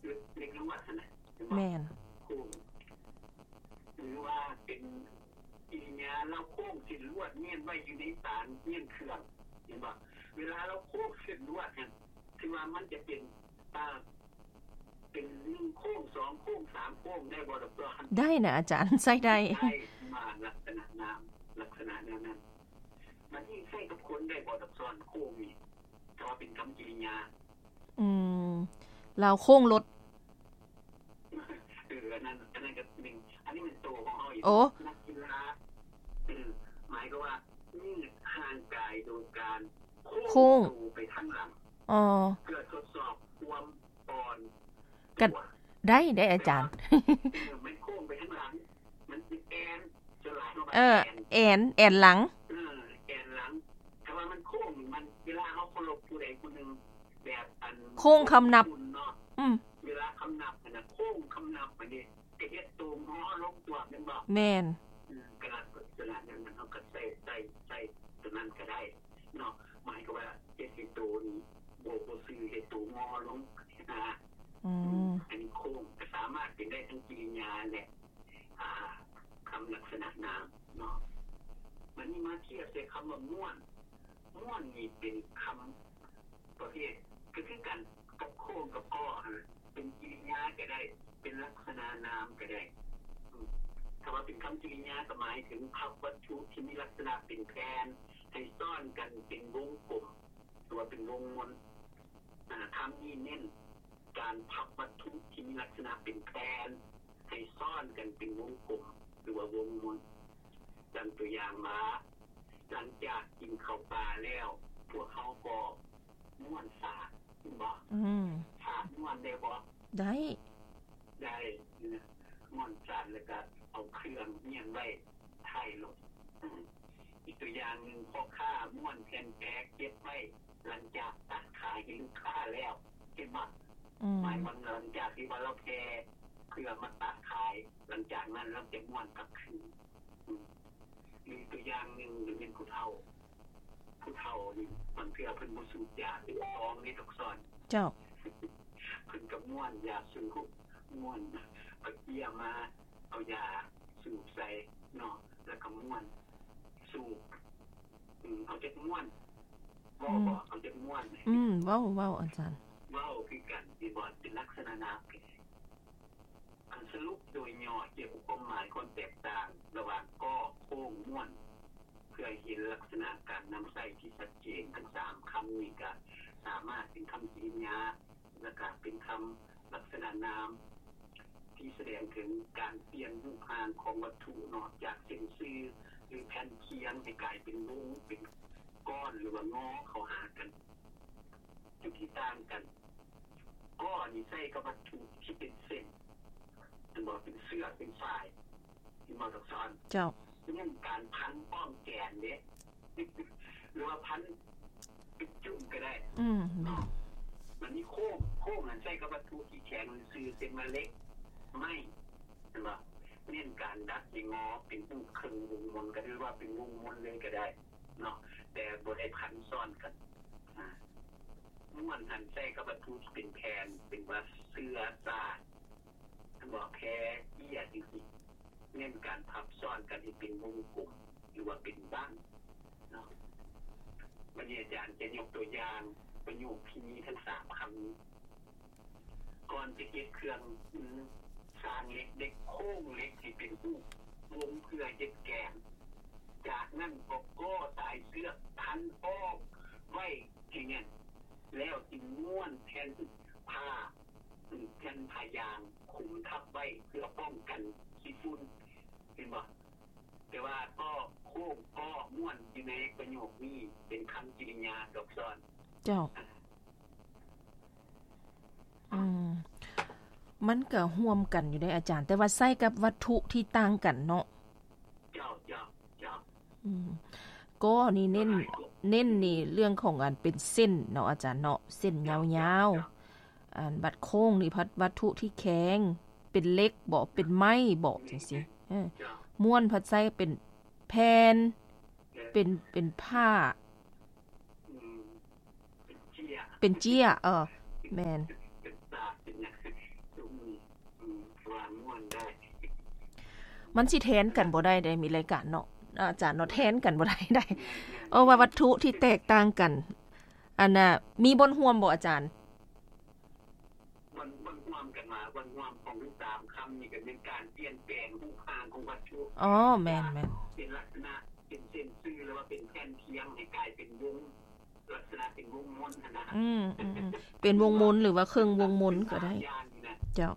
ເຫຼັກລວດຫັ້ນນະ ແມ່ນບໍ່? ໂຄ້ງ ຫຼືວ່າເປັນກິລິຍາລາວໂຄ້ງເສັ້ນລວດມ້ຽນໄວ້ຢູ່ໃນສານມ້ຽນເຄື່ອງ ເຫັນບໍ່? ເວລາລາວໂຄ້ງເສັ້ນລວດຫັ້ນ ຖືວ່າມັນຈະເປັນ ອ່າ ເປັນໜຶ່ງໂຄ້ງ ສອງໂຄ້ງ ສາມໂຄ້ງ ໄດ້ບໍ່ດອກສອນ? ໄດ້ນະອາຈານ ໃຊ້ໄດ້ ໄດ້ ມາລັກສະນະນາມ ລັກສະນະແນວນັ້ນ. ມັນຊິໃຊ້ກັບຄົນໄດ້ບໍ່ດອກສອນ ໂຄ້ງນີ້ ຖ້າວ່າເປັນຄຳກິລິຍາ? ອືມ ລາວໂຄ້ງລົດ ເອີ ອັນນັ້ນ ອັນນັ້ນກໍແມ່ນ ອັນນີ້ແມ່ນໂຕຂອງເຮົາອີກ ໂອ້ ນັກກິລາ ເອີ ໝາຍຄວາມວ່າຢືດຮ່າງກາຍໂດຍການໂຄ້ງ ໂຄ້ງໂຕໄປທາງຫຼັງ ອໍ ເພື່ອທົດສອບຄວາມອ່ອນ ກໍໄດ້ເດ້ອາຈານ ເອີ ມັນໂຄ້ງໄປທາງຫຼັງ ມັນຊິແອນ ສ່ວນຫຼາຍເຮົາວ່າ ເອີ ແອນ ແອນ ແອນຫຼັງ ເອີ ແອນຫຼັງ ຖ້າວ່າມັນໂຄ້ງ ມັນ ເວລາເຮົາເຄົາລົບຜູ້ໃດຜູ້ໜຶ່ງ ແບບອັນ ໂຄ້ງຄຳນັບ ເນາະ ອືມ ເວລາຄຳນັບຫັ້ນນະ ໂຄ້ງຄຳນັບອັນນີ້ ກໍເຮັດໂຕງໍລົງຕົວະແມ່ນບໍ່? ແມ່ນ ອືມ ກະລັກສະນະນັ້ນ ເຮົາກໍໃຊ້ ໃຊ້ ໃຊ້ຕົວນັ້ນກໍໄດ້ເນາະ ໝາຍຄວາມວ່າເຮັດໃຫ້ໂຕນີ້ ບໍ່ ບໍ່ຊື່ ເຮັດໂຕງໍລົງ ອືມ ອັນນີ້ໂຄ້ງ ກໍສາມາດເປັນໄດ້ທັງກິລິຍາ ແລະ ອ່າ ຄຳລັກສະນະນາມເນາະ. ບັດນີ້ມາທຽບໃສ່ຄຳວ່າມ້ວນ ມ້ວນນີ້ເປັນຄຳ ປະເພດ ກໍຄືກັນກັບໂຄ້ງກັບກໍຫັ້ນ ເປັນກິລິຍາກໍໄດ້ ເປັນລັກສະນະນາມກໍໄດ້. ອືມ ຖ້າວ່າເປັນຄຳກິລິຍາ ກໍໝາຍເຖິງພັບວັດຖຸທີ່ມີລັກສະນະເປັນແຜ່ນ ໃຫ້ຊ້ອນກັນເປັນວົງກົມ ຫຼືວ່າເປັນວົງມົນ. ອາ ຄຳນີ້ເນັ້ນການພັບວັດຖຸທີ່ມີລັກສະນະເປັນແຜ່ນ ໃຫ້ຊ້ອນກັນເປັນວົງກົມ ຫຼືວ່າວົງມົນ. ດັ່ງຕົວຢ່າງວ່າ ຫຼັງຈາກກິນເຂົ້າປາແລ້ວ ພວກເຮົາກໍ ມ້ວນສາກ ເຫັນບໍ່? ອືມ ສາກມ້ວນໄດ້ບໍ່? ໄດ້ ໄດ້ ມ້ວນສາກ ແລ້ວກໍເອົາເຄື່ອງມ້ຽນໄວ້ທ້າຍລົດ. ອືມ ອີກຕົວຢ່າງໜຶ່ງ ພໍ່ຄ້າມ້ວນແຜ່ນແປເກັບໄວ້ ຫຼັງຈາກຕັດຂາຍໃຫ້ລູກຄ້າແລ້ວ ເຫັນບໍ່? ອືມ ໝາຍວ່າຫຼັງຈາກທີ່ວ່າລາວແຜ່ເພື່ອມາຕັດຂາຍ ຫຼັງຈາກນັ້ນລາວຈະມ້ວນກັບຄືນ. ອືມ ອີກຕົວຢ່າງໜຶ່ງ ແມ່ນຜູ້ເຖົ້າ ຜູ້ເຖົ້ານີ້ ບາງເທື່ອເພິ່ນບໍ່ສູບຢາເປັນຊອງເດ້ດອກສອນ. ເຈົ້າ ເພິ່ນກໍມ້ວນຢາສູບ ມ້ວນເອົາເຈ້ຍມາ ເອົາຢາສູບໃສ່ເນາະ ແລ້ວກໍມ້ວນສູບ. ອືມ ເອົາຈັກມ້ວນ ເວົ້າບໍ່? ອືມ ເອົາຈັກມ້ວນ? ອືມ ເວົ້າ ເວົ້າອາຈານ ເວົ້າຄືກັນ ເຫັນບໍ່? ເປັນລັກສະນະນາມ. ອັນສະຫຼຸບໂດຍຫຍໍ້ກ່ຽວກັບຄວາມໝາຍຄວາມແຕກຕ່າງລະຫວ່າງກໍ ໂຄ້ງ ມ້ວນ ເພື່ອໃຫ້ເຫັນລັກສະນະການນຳໃຊ້ທີ່ຊັດເຈນ. ທັງສາມຄຳນີ້ກະສາມາດເປັນຄຳກິລິຍາ ແລະກະເປັນຄຳລັກສະນະນາມ ທີ່ສະແດງເຖິງການປ່ຽນຮູບຮ່າງຂອງວັດຖຸເນາະ ຈາກເສັ້ນຊື່ ຫຼື ແຜ່ນຄຽງ ໃຫ້ກາຍເປັນວົງ ເປັນກ້ອນ ຫຼືວ່າງໍເຂົ້າຫາກັນ. ຈຸດທີ່ຕ່າງກັນ ກໍນີ້ໃຊ້ກັບວັດຖຸທີ່ເປັນເສັ້ນ ແມ່ນບໍ່? ເປັນເຊືອກ ເປັນຝ້າຍ ເຫັນບໍ່ດອກສອນ? ເຈົ້າ ເປັນການພັນອ້ອມແກນເດ້ ຫຼືວ່າພັນເປັນຈຸ້ມກໍໄດ້. ອືມ ແມ່ນ. ບັດນີ້ໂຄ້ງ ໂຄ້ງນັ້ນໃຊ້ກັບວັດຖຸທີ່ແຂງຊື່ໆ ເຊັ່ນວ່າເຫຼັກ ໄມ້ ແມ່ນບໍ່? ເນັ້ນການດັດໃຫ້ງໍເປັນຮູບເຄິ່ງວົງມົນ ກໍຄືວ່າເປັນວົງມົນເລີຍກໍໄດ້ເນາະ ແຕ່ບໍ່ໄດ້ພັນຊ້ອນກັນ. ອາ ມ້ວນຫັ້ນໃຊ້ກັບວັດຖຸທີ່ເປັນແຜ່ນ ເປັນວ່າເຊືອກ ສາກ ແມ່ນບໍ່? ແພ ເຈ້ຍ ຈັ່ງຊີ້ ເນັ້ນການພັບຊ້ອນກັນໃຫ້ເປັນວົງກົມ ຫຼືວ່າເປັນບັ້ງເນາະ. ບັດນີ້ອາຈານຈະຍົກຕົວຢ່າງປະໂຫຍກທີ່ມີທັງສາມຄຳນີ້. ກ່ອນຈະເຮັດເຄື່ອງມື ຊ່າງເຫຼັກໄດ້ໂຄ້ງເຫຼັກໃຫ້ເປັນຮູບວົງເພື່ອເຮັດແກນ. ຈາກນັ້ນກໍກໍສາຍເຊືອກພັນອ້ອມໄວ້ໃຫ້ແໜ້ນ ແລ້ວຈຶ່ງມ້ວນແຜ່ນຜ້າ ແຜ່ນຜ້າຢາງຄຸມທັບໄວ້ເພື່ອປ້ອງກັນຂີ້ຝຸ່ນ. ເຫັນບໍ່? ແຕ່ວ່າກໍໂຄ້ງກໍມ້ວນຢູ່ໃນປະໂຫຍກນີ້ເປັນຄຳກິລິຍາດອກສອນ. ເຈົ້າ. ອືມ ມັນກະຮ່ວມກັນຢູ່ເດ້ອາຈານ ແຕ່ວ່າໃຊ້ກັບວັດຖຸທີ່ຕ່າງກັນເນາະ. ເຈົ້າ ເຈົ້າ ເຈົ້າ. ອືມ ກໍນີ້ເນັ້ນ ເນັ້ນນີ້ເລື່ອງຂອງອັນເປັນເສັ້ນເນາະອາຈານເນາະ ເສັ້ນຍາວໆ. ເຈົ້າ ເຈົ້າ. ອັນບັດໂຄ້ງນີ້ພັດວັດຖຸທີ່ແຂງ ເປັນເຫຼັກບໍ ເປັນໄມ້ບໍ ຈັ່ງຊີ້. ເອີ ເຈົ້າ. ມ້ວນພັດໃຊ້ເປັນແຜ່ນ ເປັນ ເປັນຜ້າ ອືມ ເປັນເຈ້ຍ ເປັນເຈ້ຍ ເອີ ແມ່ນ ເປັນຕາ ເປັນຫຍັງ ວ່າມ່ວນໄດ້ ມັນຊິແທນກັນບໍ່ໄດ້ເດ້ ມີລາຍການເນາະ ອາຈານເນາະ ແທນກັນບໍ່ໄດ້ໃດ ເອີ ວ່າວັດຖຸທີ່ແຕກຕ່າງກັນ ອັນນ່າ ມີບ່ອນຮ່ວມບໍ່ອາຈານ? ບ່ອນ ບ່ອນຮ່ວມກັນວ່າ ບ່ອນຮ່ວມຂອງທັງສາມຄຳນີ້ກໍແມ່ນການປ່ຽນແປງຮູບຮ່າງຂອງວັດຖຸ ອໍ ແມ່ນໆ ເປັນລັກສະນະ ເປັນເສັ້ນຊື່ ຫຼືວ່າເປັນແຜ່ນທຽງ ໃຫ້ກາຍເປັນວົງ ລັກສະນະເປັນວົງມົນຫັ້ນນະ ອືມໆໆ ເປັນວົງມົນ ຫຼືວ່າເຄິ່ງວົງມົນກໍໄດ້ ເຈົ້າ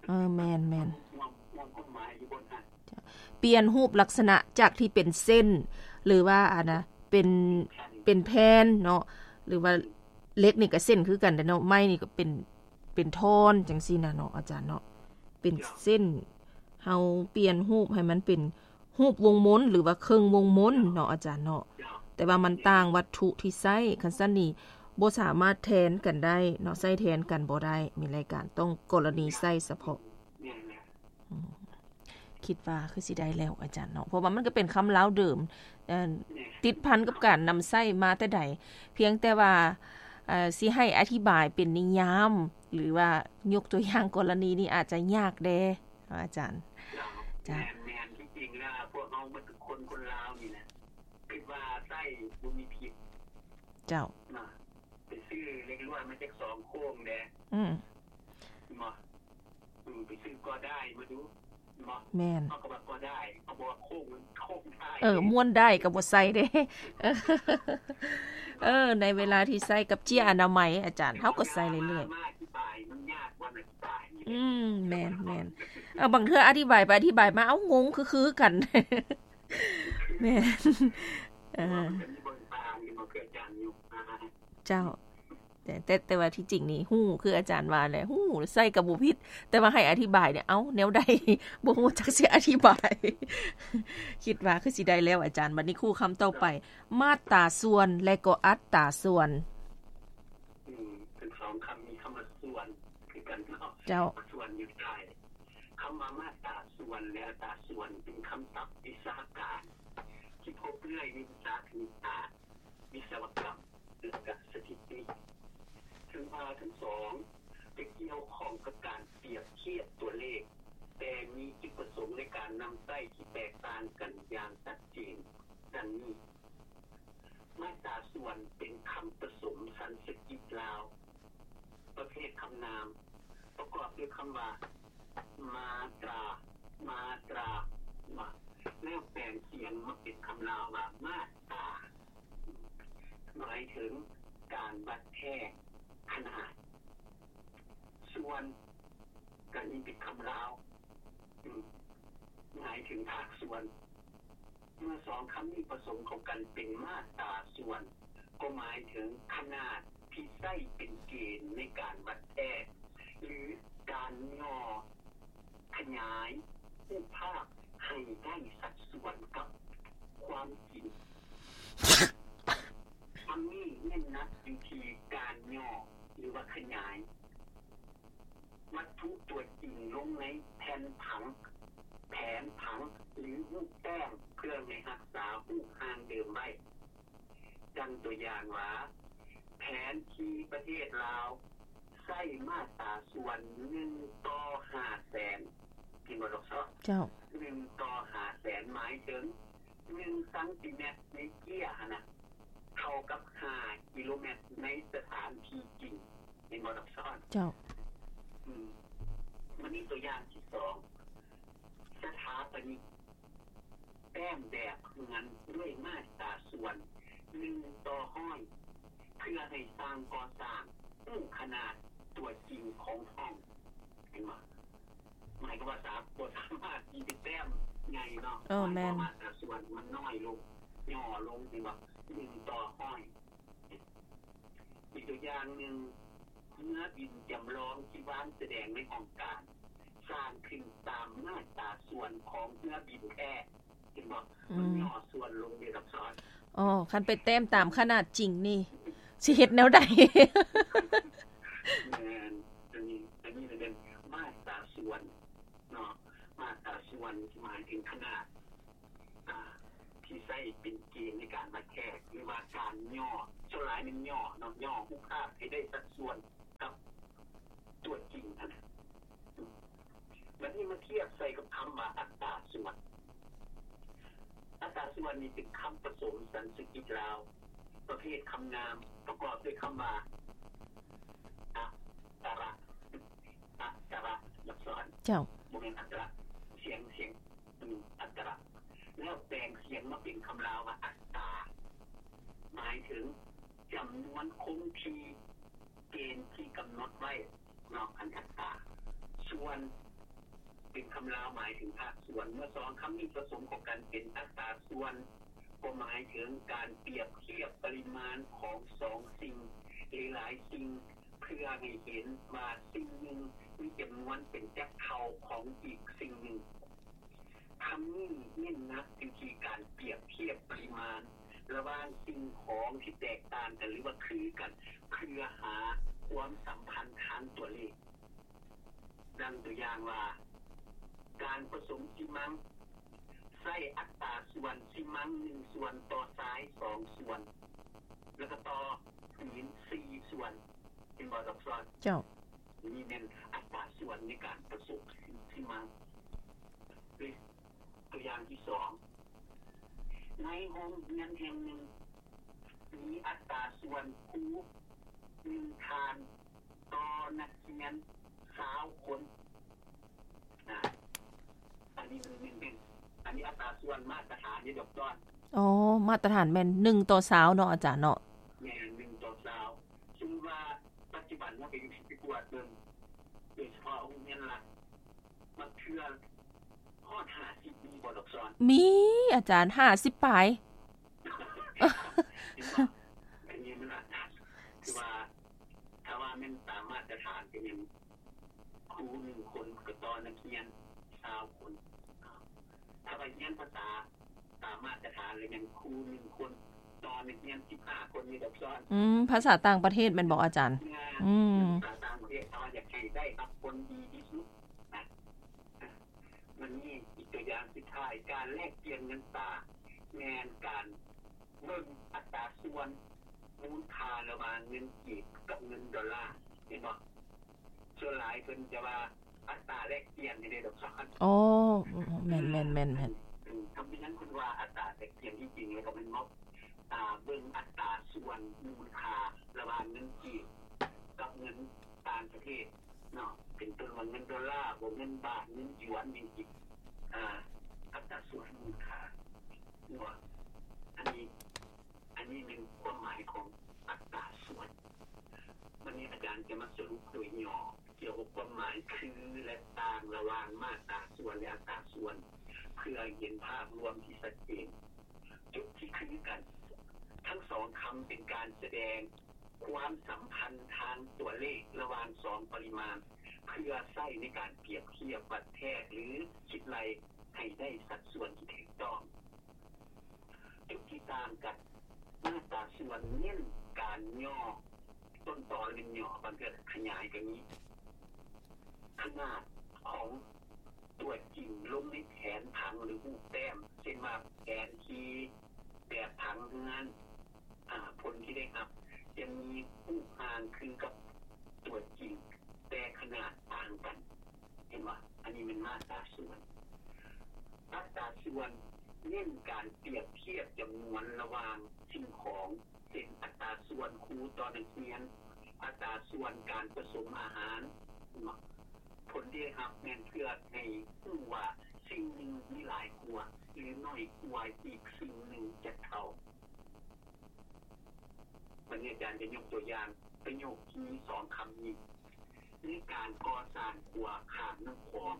ເອີ ແມ່ນໆ ຮ່ວມ ຮ່ວມຄວາມໝາຍຢູ່ບົນຫັ້ນ ປ່ຽນຮູບລັກສະນະຈາກທີ່ເປັນເສັ້ນ ຫຼືວ່າ ອັນນ່າ ເປັນ ເປັນແຜ່ນເນາະ ຫຼືວ່າເຫຼັກນີ້ກໍເສັ້ນຄືກັນແຫຼະເນາະ ໄມ້ນີ້ກໍເປັນ ເປັນທ່ອນຈັ່ງຊີ້ນະເນາະ ອາຈານເນາະ ເປັນເສັ້ນ ເຮົາປ່ຽນຮູບໃຫ້ມັນເປັນຮູບວົງມົນ ຫຼືວ່າເຄິ່ງວົງມົນເນາະ ອາຈານເນາະ ແຕ່ວ່າມັນຕ່າງວັດຖຸທີ່ໃຊ້ ຄັນຊັ້ນນີ້ບໍ່ສາມາດແທນກັນໄດ້ເນາະ ໃຊ້ແທນກັນບໍ່ໄດ້ ມີລາຍການ ຕ້ອງກໍລະນີໃຊ້ສະເພາະ ອືມ ຄິດວ່າຄືຊິໄດ້ແລ້ວອາຈານເນາະ ເພາະວ່າມັນກໍເປັນຄຳລາວເດີມ ເອີ ຕິດພັນກັບການນຳໃຊ້ມາແຕ່ໃດ ພຽງແຕ່ວ່າ ເອີ ຊິໃຫ້ອະທິບາຍເປັນນິຍາມ ຫຼືວ່າຍົກຕົວຢ່າງກໍລະນີນີ້ອາດຈະຍາກແດ່ ອາຈານ ເຈົ້າ ແມ່ນໆ ທີ່ຈິງແລ້ວພວກເຮົາໝົດທຸກຄົນ ຄົນລາວນີ້ນະ ຄິດວ່າໃຊ້ບໍ່ມີຜິດ ເຈົ້າ ນະ ໄປຊື້ເຫຼັກລວດມາຈັກສອງໂຄ້ງແດ່ ອືມ ເນາະ ອືມ ໄປຊື້ກໍໄດ້ມາດູ ເນາະ ແມ່ນ ເຮົາກໍວ່າກໍໄດ້ ເຮົາບໍ່ວ່າໂຄ້ງ ໂຄ້ງໄດ້ ເອີ ມ້ວນໄດ້ກໍບໍ່ໃສ່ເດ້ ເອີ ໃນເວລາທີ່ໃຊ້ກັບເຈ້ຍອະນາໄມ ອາຈານ ເຮົາກໍໃສ່ເລື້ອຍໆ ມາອະທິບາຍ ມັນຍາກກວ່າອະທິບາຍ ອືມ ແມ່ນໆ ເອີ ບາງເທື່ອອະທິບາຍໄປອະທິບາຍມາ ເອົ້າ ງົງຄືໆກັນ ແມ່ນ ເອີ ເຈົ້າ ແຕ່ ແຕ່ ແຕ່ວ່າທີ່ຈິງນີ້ຮູ້ ຄືອາຈານວ່າແຫຼະ ຮູ້ ໃຊ້ກໍບໍ່ຜິດ ແຕ່ວ່າໃຫ້ອະທິບາຍນີ້ ເອົ້າ ແນວໃດ ບໍ່ຮູ້ຈັກຊິອະທິບາຍ ຄິດວ່າຄືຊິໄດ້ແລ້ວອາຈານ. ບັດນີ້ຄູ່ຄຳຕໍ່ໄປ ມາດຕາສ່ວນ ແລະກໍອັດຕາສ່ວນ. ອືມ ທັງສອງຄຳມີຄຳວ່າສ່ວນຄືກັນເນາະ. ເຈົ້າ. ສ່ວນຢູ່ທ້າຍ. ຄຳວ່າມາດຕາສ່ວນ ແລະອັດຕາສ່ວນ ເປັນຄຳສັບວິຊາການທີ່ພົບເລື້ອຍໃນວິຊາຄະນິດສາດ, ວິສະວະກຳ ແລະກະສະຖິຕິ. ເຖິງວ່າທັງສອງຈະກ່ຽວຂ້ອງກັບການປຽບທຽບຕົວເລກ, ແຕ່ມີຈຸດປະສົງໃນການນຳໃຊ້ທີ່ແຕກຕ່າງກັນຢ່າງຊັດເຈນ ດັ່ງນີ້. ມາດຕາສ່ວນເປັນຄຳປະສົມສັນສະກິດລາວ ປະເພດຄຳນາມ ປະກອບດ້ວຍຄຳວ່າ ມາຕຣາ, ມາຕຣາ ມາ ແລ້ວແປງສຽງມາເປັນຄຳລາວວ່າ ມາດຕາ ໝາຍເຖິງການວັດແທກຂະໜາດ. ສ່ວນ ກະນີ້ເປັນຄຳລາວ ອືມ ໝາຍເຖິງພາກສ່ວນ. ເມື່ອສອງຄຳນີ້ປະສົມເຂົ້າກັນເປັນມາດຕາສ່ວນ ກໍໝາຍເຖິງຂະໜາດທີ່ໃຊ້ເປັນເກນໃນການວັດແທກ ຫຼື ການຫຍໍ້ຂະຫຍາຍຮູບພາບໃຫ້ໄດ້ສັດສ່ວນກັບຄວາມຈິງ. ຄຳນີ້ເນັ້ນໜັກຢູ່ທີ່ການຫຍໍ້ ຫຼືວ່າຂະຫຍາຍ ວັດຖຸຕົວຈິງລົງໃນແຜ່ນຜັງ, ແຜນຜັງ ຫຼື ຮູບແຕ້ມ ເພື່ອໃຫ້ຮັກສາຮູບຮ່າງເດີມໄວ້. ດັ່ງຕົວຢ່າງວ່າ ແຜນທີ່ປະເທດລາວໃຊ້ມາດຕາສ່ວນໜຶ່ງຕໍ່ຫ້າແສນ ເຫັນບໍ່ດອກຊອດ? ເຈົ້າ. ໜຶ່ງຕໍ່ຫ້າແສນ ໝາຍເຖິງໜຶ່ງຊັງຕີແມັດໃນເຈ້ຍຫັ້ນນະ ເທົ່າກັບຫ້າກິໂລແມັດໃນສະຖານທີ່ຈິງ. ເຫັນບໍ່ດອກຊອດ? ເຈົ້າ. ອືມ ມັນມີຕົວຢ່າງທີສອງ ສະຖາປະນິກແຕ້ມແບບເຮືອນດ້ວຍມາດຕາສ່ວນໜຶ່ງຕໍ່ຮ້ອຍ ເພື່ອໃຫ້ຊ່າງກໍ່ສ້າງຮູ້ຂະໜາດຕົວຈິງຂອງຫ້ອງ. ເຫັນບໍ່? ໝາຍຄວາມວ່າສາ ບໍ່ສາມາດທີ່ຈະແຕ້ມໃຫຍ່ເນາະ. ເອີ ແມ່ນ. ໝາຍຄວາມວ່າມາດຕາສ່ວນມັນນ້ອຍລົງ ຫຍໍ້ລົງ ເຫັນບໍ່? ໜຶ່ງຕໍ່ຮ້ອຍ. ອີກຕົວຢ່າງໜຶ່ງ ເຮືອບິນຈຳລອງທີ່ວາງສະແດງໃນຫ້ອງການ ສ້າງຂຶ້ນຕາມມາດຕາສ່ວນຂອງເຮືອບິນແທ້. ເຫັນບໍ່? ອືມ ມັນຫຍໍ້ສ່ວນລົງເດ ລັກສອນ. ອໍ ຄັນໄປແຕ້ມຕາມຂະໜາດຈິງນີ້ ຊິເຮັດແນວໃດ? ແມ່ນ ອັນນີ້ ອັນນີ້ແມ່ນມາດຕາສ່ວນເນາະ. ມາດຕາສ່ວນໝາຍເຖິງຂະໜາດ ອ່າ ທີ່ໃຊ້ເປັນເກນໃນການວັດແທກ ຫຼືວ່າການຫຍໍ້ ສ່ວນຫຼາຍແມ່ນຫຍໍ້ເນາະ ຫຍໍ້ຮູບພາບໃຫ້ໄດ້ສັດສ່ວນກັບຕົວຈິງຫັ້ນນະ. ທຽບໃສ່ກັບຄຳວ່າອັດຕາສ່ວນ. ອັດຕາສ່ວນນີ້ເປັນຄຳປະສົມສັນສະກິດລາວ ປະເພດຄຳນາມ ປະກອບດ້ວຍຄຳວ່າ ອັດຕະຣະ ອັດຕະຣະ ເຈົ້າ ບໍ່ແມ່ນອັດຕະຣະ ສຽງ ສຽງ ອັດຕະຣະ ແລ້ວແປງສຽງມາເປັນຄຳລາວວ່າອັດຕາ ໝາຍເຖິງຈຳນວນຄົງທີ່ ເກນທີ່ກຳນົດໄວ້ເນາະ ອັນອັດຕາ ສ່ວນ ເປັນຄຳລາວໝາຍເຖິງພາກສ່ວນ. ເມື່ອສອງຄຳນີ້ປະສົມເຂົ້າກັນເປັນອັດຕາສ່ວນ ກໍໝາຍເຖິງການປຽບທຽບປະລິມານຂອງສອງສິ່ງ ຫຼື ຫຼາຍສິ່ງ ເພື່ອໃຫ້ເຫັນວ່າສິ່ງໜຶ່ງມີຈຳນວນເປັນຈັກເທົ່າຂອງອີກສິ່ງໜຶ່ງ. ຄຳນີ້ເນັ້ນໜັກຢູ່ທີ່ການປຽບທຽບປະລິມານລະຫວ່າງສິ່ງຂອງທີ່ແຕກຕ່າງກັນ ຫຼືວ່າຄືກັນ ເພື່ອຫາຄວາມສຳພັນທາງຕົວເລກ. ດັ່ງຕົວຢ່າງວ່າ ການປະສົມຊີມັງ ໃຊ້ອັດຕາສ່ວນຊີມັງໜຶ່ງສ່ວນຕໍ່ຊາຍສອງສ່ວນ ແລ້ວກໍຕໍ່ຫີນສີ່ສ່ວນ. ເຫັນບໍ່ ດອກຊອນ? ເຈົ້າ. ນີ້ແມ່ນອັດຕາສ່ວນໃນການປະສົມຊີມັງ. ຕົວຢ່າງທີສອງ ໃນໂຮງຮຽນແຫ່ງໜຶ່ງ ມີອັດຕາສ່ວນຄູໜຶ່ງທ່ານຕໍ່ນັກຮຽນຊາວຄົນ. ອາ ອັນນີ້ມັນເປັນ ອັນນີ້ອັດຕາສ່ວນມາດຕະຖານເດ້ ດອກຊອນ. ອໍ ມາດຕະຖານແມ່ນໜຶ່ງຕໍ່ຊາວເນາະ ອາຈານເນາະ? ແມ່ນ ໜຶ່ງຕໍ່ຊາວ. ສົມມຸດວ່າປັດຈຸບັນເຮົາໄປ ໄປກວດເບິ່ງ ໂດຍສະເພາະໂຮງຮຽນລັດ ບາງເທື່ອຮອດຫ້າສິບ ມີບໍ່ ດອກຊອນ? ມີ ອາຈານ ຫ້າສິບປາຍ. ເຫັນບໍ່? ອັນນີ້ມັນອາດຈະ ຄືວ່າ ຖ້າວ່າແມ່ນຕາມມາດຕະຖານ ກໍແມ່ນຄູໜຶ່ງຄົນກໍຕໍ່ນັກຮຽນຊາວຄົນ. ຖ້າວ່າຮຽນພາສາຕາມມາດຕະຖານ ແລ້ວແມ່ນຄູໜຶ່ງຄົນຕໍ່ນັກຮຽນສິບຫ້າຄົນນີ້ ດອກຊອນ. ອືມ ພາສາຕ່າງປະເທດແມ່ນບໍ່ ອາຈານ? ອືມ ພາສາຕ່າງປະເທດ ຖ້າວ່າຢາກໃຫ້ໄດ້ຮັບຜົນດີທີ່ສຸດນະ. ມັນມີອີກຕົວຢ່າງສຸດທ້າຍ ການແລກປ່ຽນເງິນຕາ ແມ່ນການເບິ່ງອັດຕາສ່ວນມູນຄ່າລະຫວ່າງເງິນກີບກັບເງິນໂດລາ ເຫັນບໍ່? ສ່ວນຫຼາຍເພິ່ນຈະວ່າອັດຕາແລກປ່ຽນໃຫ້ເດ້ ດອກຊອນ. ອໍ ແມ່ນໆໆໆ. ອືມ ທຳເປັນຫຍັງເພິ່ນວ່າອັດຕາແລກປ່ຽນ? ທີ່ຈິງແລ້ວກໍແມ່ນເວົ້າ ອ່າ ເບິ່ງອັດຕາສ່ວນມູນຄ່າລະຫວ່າງເງິນກີບກັບເງິນຕ່າງປະເທດເນາະ ເປັນຕົ້ນວ່າເງິນໂດລາບໍ ເງິນບາດ ເງິນຢວນ ຈັ່ງຊີ້ ອ່າ ອັດຕາສ່ວນມູນຄ່າເນາະ. ອັນນີ້ ອັນນີ້ແມ່ນຄວາມໝາຍຂອງອັດຕາສ່ວນ. ວັນນີ້ອາຈານຈະມາສະຫຼຸບໂດຍຫຍໍ້ ກ່ຽວກັບຄວາມໝາຍຄື ແລະ ຕ່າງລະຫວ່າງມາດຕາສ່ວນ ແລະ ອັດຕາສ່ວນ ເພື່ອໃຫ້ເຫັນພາບລວມທີ່ຊັດເຈນ. ຈຸດທີ່ຄືກັນ ທັງສອງຄຳເປັນການສະແດງຄວາມສຳພັນທາງຕົວເລກລະຫວ່າງສອງປະລິມານ ເພື່ອໃຊ້ໃນການປຽບທຽບວັດແທກ ຫຼື ຄິດໄລ່ໃຫ້ໄດ້ສັດສ່ວນທີ່ຖືກຕ້ອງ. ຈຸດທີ່ຕ່າງກັນ ມາດຕາສ່ວນເນັ້ນການຫຍໍ້ ຕົ້ນຕໍແມ່ນຫຍໍ້ ບາງເທື່ອຂະຫຍາຍກໍມີ ຂະໜາດຂອງຕົວຈິງລົງໃນແຜນຜັງ ຫຼື ຮູບແຕ້ມ ເຊັ່ນວ່າແຜນທີ່ແບບຜັງເຮືອນ ອາ ຜົນທີ່ໄດ້ຮັບຈະມີຮູບຮ່າງຄືກັບຕົວຈິງ ແຕ່ຂະໜາດຕ່າງກັນ. ເຫັນບໍ່? ອັນນີ້ແມ່ນມາດຕາສ່ວນ. ອັດຕາສ່ວນເນັ້ນການປຽບທຽບຈຳນວນລະຫວ່າງສິ່ງຂອງ ເຊັ່ນ ອັດຕາສ່ວນຄູຕໍ່ນັກຮຽນ, ອັດຕາສ່ວນການປະສົມອາຫານ. ເຫັນບໍ່? ຜົນທີ່ໄດ້ຮັບແມ່ນເພື່ອໃຫ້ຮູ້ວ່າສິ່ງໜຶ່ງມີຫຼາຍກວ່າ ຫຼື ໜ້ອຍກວ່າອີກສິ່ງໜຶ່ງຈັກເທົ່າ. ບັດນີ້ອາຈານຈະຍົກຕົວຢ່າງປະໂຫຍກທີ່ມີສອງຄຳນີ້. ໃນການກໍ່ສ້າງຂົວຂ້າມນ້ຳຂອງ,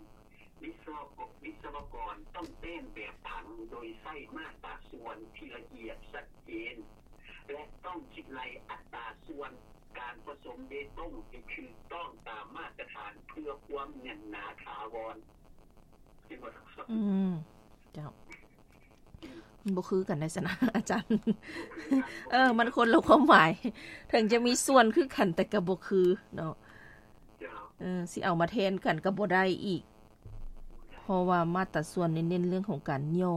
ວິສະວະ ວິສະວະກອນຕ້ອງແຕ້ມແບບຜັງໂດຍໃຊ້ມາດຕາສ່ວນທີ່ລະອຽດຊັດເຈນ ແລະ ຕ້ອງຄິດໄລ່ອັດຕາສ່ວນການປະສົມເບຕົງໃຫ້ຖືກຕ້ອງຕາມມາດຕະຖານເພື່ອຄວາມແໜ້ນໜາຖາວອນ. ອືມ ເຈົ້າ ມັນບໍ່ຄືກັນໄດ໋ຊັ້ນນະ ອາຈານ. ເອີ ມັນຄົນລະຄວາມໝາຍ ເຖິງຈະມີສ່ວນຄືກັນ ແຕ່ກໍບໍ່ຄືເນາະ. ເອີ ຊິເອົາມາແທນກັນກໍບໍ່ໄດ້ອີກ ເພາະວ່າມາດຕາສ່ວນນີ້ເນັ້ນເລື່ອງຂອງການຫຍໍ້